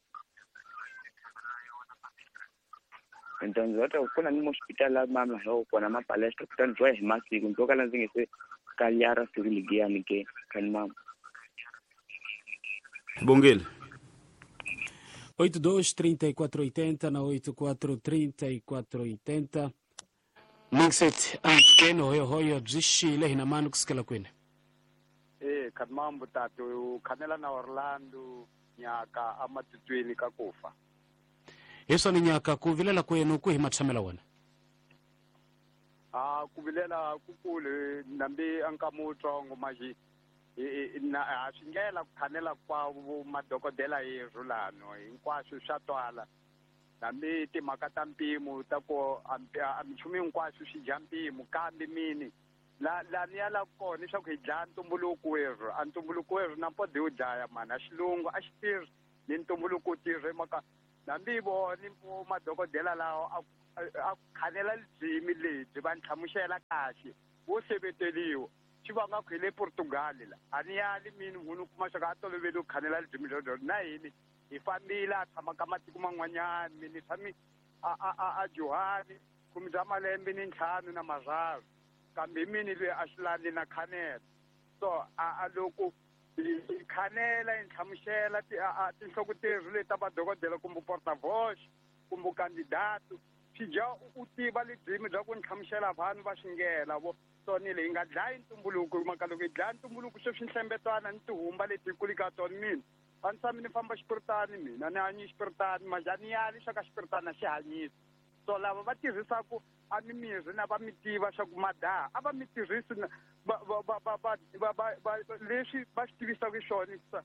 Ndzi va ku na ni moxipitali ma mahiwa kona ma palestra kutani ndzi hi masiku ndzi kala ndzi nge se kalyara siku ligiyani ke kani mama. Bongile. 82 34 80 na 84 34 80. Mixet amfukeni hoyo hoyo byi xile hina mani kusukela kwini? Khamambu tatu khanela na Orlando nyaka amatitweni ka kufa. Hi swona nyaka ku vilela kwenu ku hi matshamela wena? A ku vilela kukulu nambi ankamutsongo maji. Na a swi ndlela ku khanela kwa madokodela yerhu lano hinkwaswo swa twala hambi timhaka ta mpimo ta ku a minchumu hinkwaswo swi dya mpimo kambe mini la ni ya la kona leswaku hi dlaya ntumbuluko werhu a ntumbuluko werhu na mpodi wu dlaya mani a xilungu a xi tirhi ni ntumbuluko wu tirhi maka hambi voni madokodela lawa a khanela lidzimi lebyi va nhlamusela kahle wo seveteriwa xi vanga ku hi le Portugal la a ni yali mini munhu kuma swa ka a tolovele ku khanela lidzimi lero na hini hi fambile a tshama ka matiko man'wanyana mini tshami a Johani khume bya malembe ni ntlhanu na mararu kambe mini loyi a xi landzi na khanela so a loko hi khanela hi nhlamusela tinhloko terhu leti ta vadokodela kumbe porta-voce kumbe candidato swi dya u tiva lidzimi bya ku nhlamusela vanhu va xingela vo so ni leyi nga dlayi ntumbuluko mhaka loko hi dlaya ntumbuluko sweswi nhlembetwana ni tihumba leti hi kuli ka tona mina a ni tshami ni famba xipiritani mina ni hanyi xipiritani majani yali swa ka xipiritani a xi hanyisi so lava va tirhisaku a mimirhi na va mi tiva swa ku madaha a va mi tirhisi leswi va swi tivisaka swona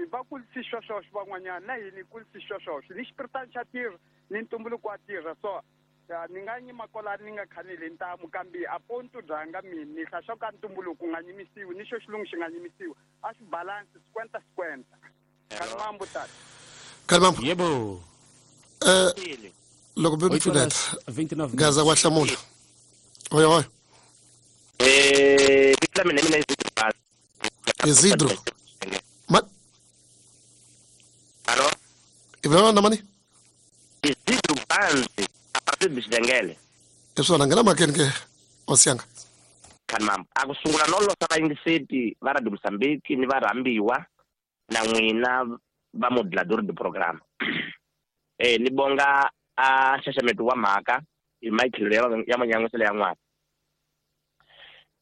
va kulisi sweswo van'wanyana na hini hi kulisi sweswo ni xipiritani xa tirha ni ntumbuluko wa tirha so ni nga nyima kwalani ni nga khaneli ntamu kambe a ponto byanga mina ni hla swa ka ntumbuluko nga nyimisiwi ni xo xilungu xi nga nyimisiwi a swi balance sikwenta sikwenta Kalimambo tata Kalimambo yebo loko be pfuneta Gaza wa hlamula oyo oyo vito la mina mina Isidro ma Alô i vulavula na mani Isidro Banzi a partir de Xidengele hi swona nghena mhakeni ke hosi yanga Kalimambo a ku sungula no losa vayingiseti va Radio Mozambique ni varhambiwa na n'wina va modulador de programme ni bonga a nxaxameto wa mhaka hi matlhelo ya manyan'wiselo ya n'wana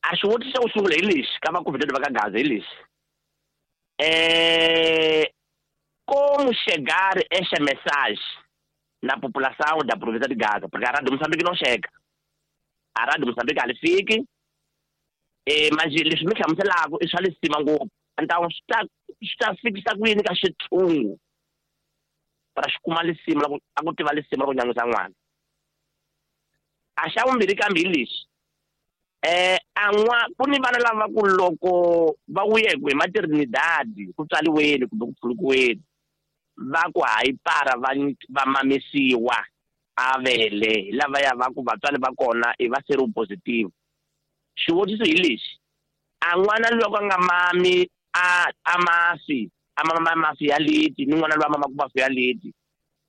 a xivutiso xa ku sungula hi lexi ka vakovhitete va ka Gaza hi lexi como chegar esta mensagem na população da província de Gaza porque a Rádio Moçambique não chega a Rádio Moçambique ali fique mas leswi mi hlamuselaka i swa lisima ngopfu então swi ta fikisa ku yini ka xithungu para xi kuma lisima a ku tiva lisima ra ku nyan'wisa n'wana a xa vumbirhi kambe hi lexi an'wa ku ni vana lava ku loko va vuye hi maternidad ku tswaliweni kumbe ku pfulukiweni va ku hayi para va mamisiwa a vele hi lavaya va ku vatswari va kona i va seropositive xivutiso hi lexi a n'wana loko a nga mami a mafi a mama mafi ya leti ni n'wana loyi a mamaka mafi ya leti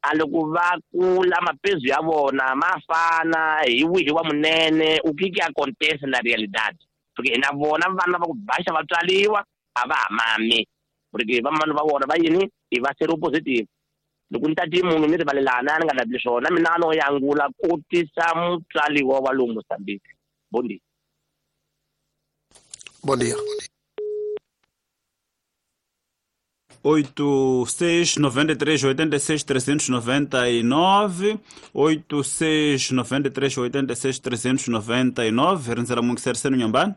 a loko va kula mapezu ya vona ma fana hi wihi wa munene u que que acontece na realidade porque na vona vana va ku baxa va tswaliwa a va ha mami porque vamani va vona va yini i va seropositive loko ni tati munhu ni rivalelana ni nga lavi swona mina no yangula ku tisa mutswaliwa wa lomu Mozambique bom dia. Bom dia. 8 6 93 86 399 8 6 93 86 399 rindzela mungiseriseni nyambani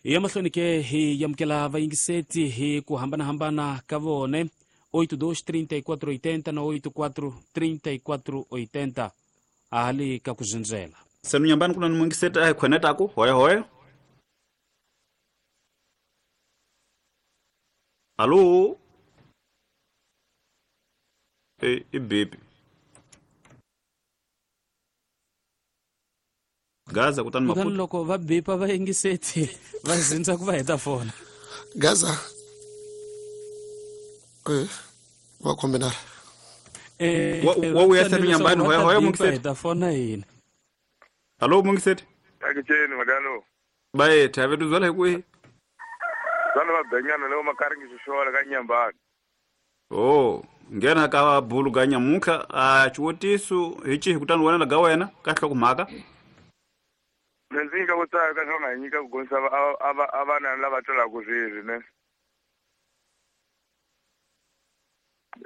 ya mahlweni ke hi yamukela vayingiseti hi ku hambanahambana ka vone 82 34 80 na 84 34 80 ahali ka ku zindzela senu nyambani kuna ni mungiseti a hi khwenetaku hoya hoya. Alô? E bebe. Gaza kutani Maputo. Loko va bipa va yingiseti va zindza ku va heta fona. Gaza. Va combinar. Wa uya senu nyambani hoya hoya mungiseti. Heta fona yini. Alô mungiseti. Akitsheni madalo. Baye thabe tuzwala hi kwihi? Vana va benyana leo makaringi xixola ka Nyambani. Oh, nghena ka bulu ga nyamutlha a xivutiso hi xihi kutani wena ga wena ka nhlokomhaka? Ndzi nga vutisa ka swona hi nyika ku gonisa a vana lava twelaka sweswi ne.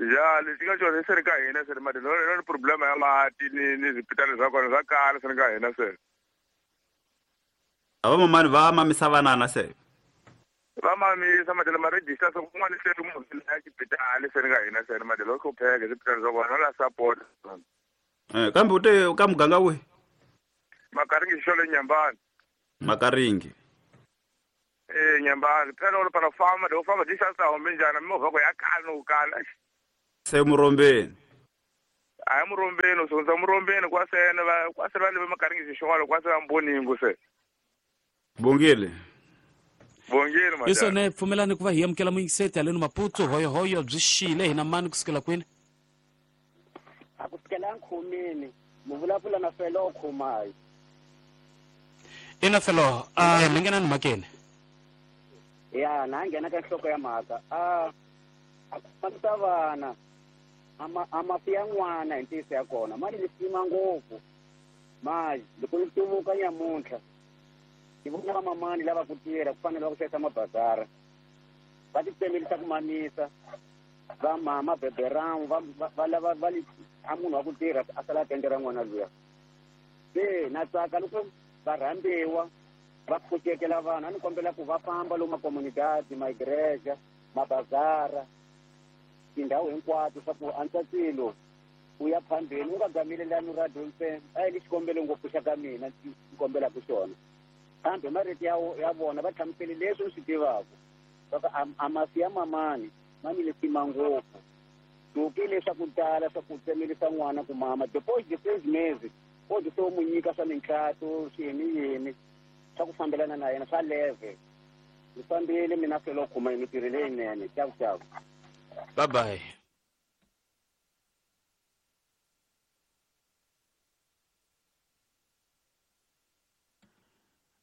Ya lexi nga xona se ri ka hina se ri mati no ni problema ya mati ni swipitali swa kona swa kala se ri ka hina se. A va mamani va mamisa vanana se va mamisa madela ma register so kun'wana se ri munhu ya xibedhlele se ni nga hina se ni madela o hlupheka swibedhlele swa vona la support. Kambe u te ka muganga wihi? Makaringi xolo Nyambani. Makaringi. Nyambani phela u para famba do famba distance ta hombe njhani mimovha ku ya kala no kala. Se Murombeni. A Murombeni u sungula Murombeni kwa sena va kwa se va le Makaringi xolo kwa se va Mboningo se. Bongile. Bongile madam. Isone pfumelani ku va hi amukela muyingiseti haleni Maputo hoyohoyo byi xile hina mani kusukela kwini? A kusukela nkhumini mu vulavula na Felo Khumayo. Ina Felo, mi nghena ni mhakeni. Ya, na nghena ka nhloko ya mhaka. A ku fambisa vana a mafi ya n'wana hi ntiyiso ya kona mali ni sima ngopfu mali loko ni tuvuka nyamuntlha ni vona vamamani lava ku tirha ku fanele va ku xavisa mabazara va titsemelisa ku mamisa va mama beberangu va lava va a munhu wa ku tirha a sala a tendera n'wana luya. Se na tsaka loko va rhambiwa va pfuxekela vanhu a ni kombela ku va famba lomu makomunidadi maigreja mabazara tindhawu hinkwato swa ku antswa swilo u ya phambeni u nga gamelelani radio ntsena a hi le xikombelo ngopfu xa ka mina ni kombelaka xona kambe marito ya vona va hlamusele leswi u swi tivaka swa a masi ya mamani ma ni lesima ngopfu tuki leswaku tala swa ku tsemelisa n'wana ku mama depois de 6 meses o se u mu nyika swa mintlhato swiyini yini swa ku fambelana na yena swa leve. Ni fambile mina Felo Khuma hi mintirho leyinene. Ciao ciao. Bye bye.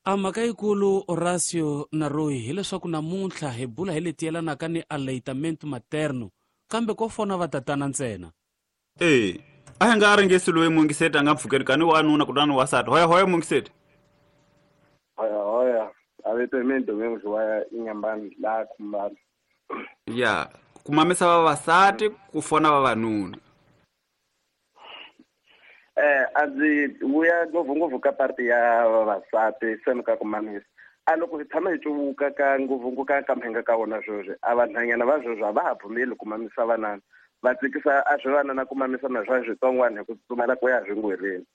A mhaka yikulu Horacio na Roy hileswaku namuntlha hi bula hi leti yelanaka ni aleitamento materno kambe ko fona va tatana ntsena. A hi nga ringesi loyi mungiseti a nga pfukeli kani wanuna kutani wasati. Hoya hoya mungiseti. Hoya hoya a vito hi mina Domingos wa Inyambani laha Khumbana. Ya ku mamisa vavasati ku fona vavanuna. A ndzi vuya ngopfungopfu ka parti ya vavasati se ka ku mamisa. A loko hi tshama hi cuvuka ka ngopfungopfu ka mhenga ka wona sweswi a vanhwanyana va sweswi a va ha pfumeli ku mamisa vanana va tsikisa a swi vanana ku mamisa na swa switsongwana hi ku tsutsumela ku ya swingwereni.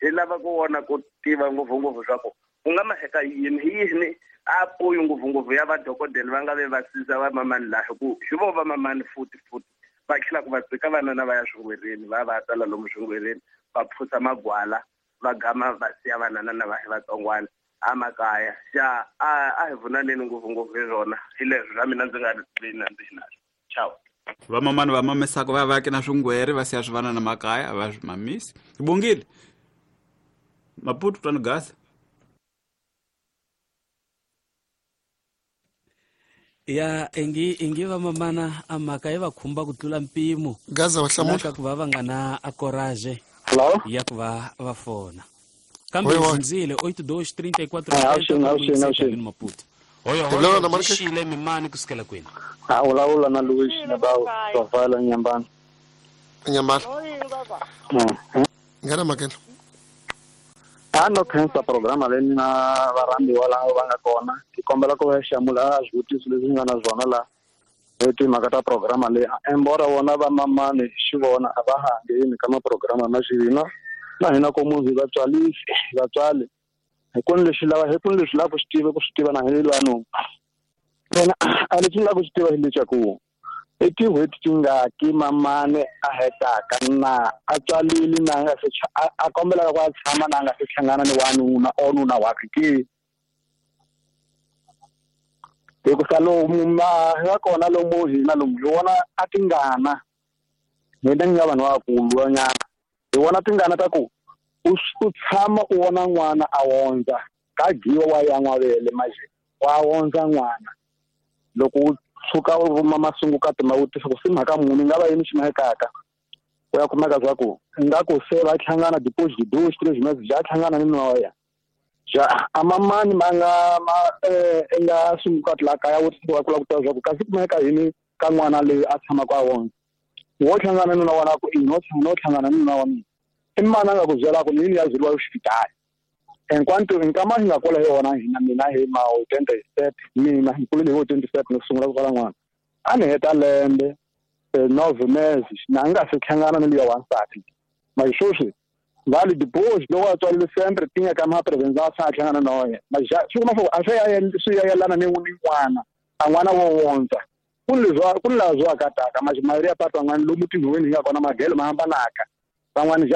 Hi lava ku vona ku tiva ngopfungopfu swa ku ku nga maheka yini hi yini a poyi ngopfungopfu ya vadokodela va nga ve va siza va mamani laha ku hi vo va mamani futi futi va tlhela ku va tsika vanana va ya swingwereni va va tala lomu swingwereni va phusa magwala va gama va siya vanana na va vatsongwana a makaya xa a hi vunaneni ngopfungopfu hi swona hi leswi swa mina ndzi nga vi na ndzi naswo. Ciao. Vamamani va mamisaka va va na swingwere va siya swivanana makaya a va swi mamisi. Bongile. Maputo twana gasa. Ya ingi vamamana a mhaka yi va khumba ku tlula mpimo. Gaza wa hlamula. Ka ku va va nga na a courage ya ku va va fona. Kambe ndzile 8234 Maputo. Hoyo hoyo xile mimani kusukela kwini? A vulavula na Luis na ba Nyambani. Nyambani. Ngana makela. A no khensa programa leyi na varhambiwa lava va nga kona. Hi kombela ku va hlamula swivutiso leswi nga na swona la hi timhaka ta programa leyi. Embora vona va mamani xivona a va ha ngheni ka maprograma ma xivina na hina ko munhu hi vatswali hi ku ni leswi lava hi ku ni leswi lava ku swi tiva ku swi tiva na hi vanhu. Mina a leswi ni lava ku swi tiva hi leswaku i tin'hweti tingaki mamani a hetaka na a tswalile na nga se a kombelaka ku a tshama na nga se hlangana ni wanuna or nuna wakhe ke. Hikusa lomu ma nga kona lomu hina lomu hi vona a tingana hina ni nga vanhu vakulu nyana hi vona tingana ta ku u tshama u vona n'wana a wondza ka giwa wa ya n'wavele manje wa wondza n'wana loko u tshuka u vuma masungukati ma vutisa ku se mhaka muni nga va yini xi mahekaka u ya kumeka swa ku nga ku se va hlangana depois de 2 3 meses ja hlangana ni noya ja a mamani ma nga ma nga sungukati la kaya vutisa ku lava ku tiva swa ku kasi kumeka yini ka n'wana loyi a tshamaka a wondza wo hlangana ni nuna wa ku i no hlangana ni nuna wa mina i mana a nga ku byela ku yini ya byeriwa xipitali Enquanto nkama hi nga kula hi wona hina mina hi ma 87 mina hi kulile hi 27 ni sungula ku tswala n'wana a ni heta lembe 9 meses na nga se hlangana ni luya wansati mas sweswi vale depois loko a tswalile sempre tinha ka ma prevenção a sa hlangana na yena mas já swi kuma swa a swi ya yelana ni n'wana a n'wana wo wondza ku ni leswi ku ni laha swi akataka mas mayoria ya part van'wana lomu tinhowini hi nga kona magelo ma hambanaka van'wana.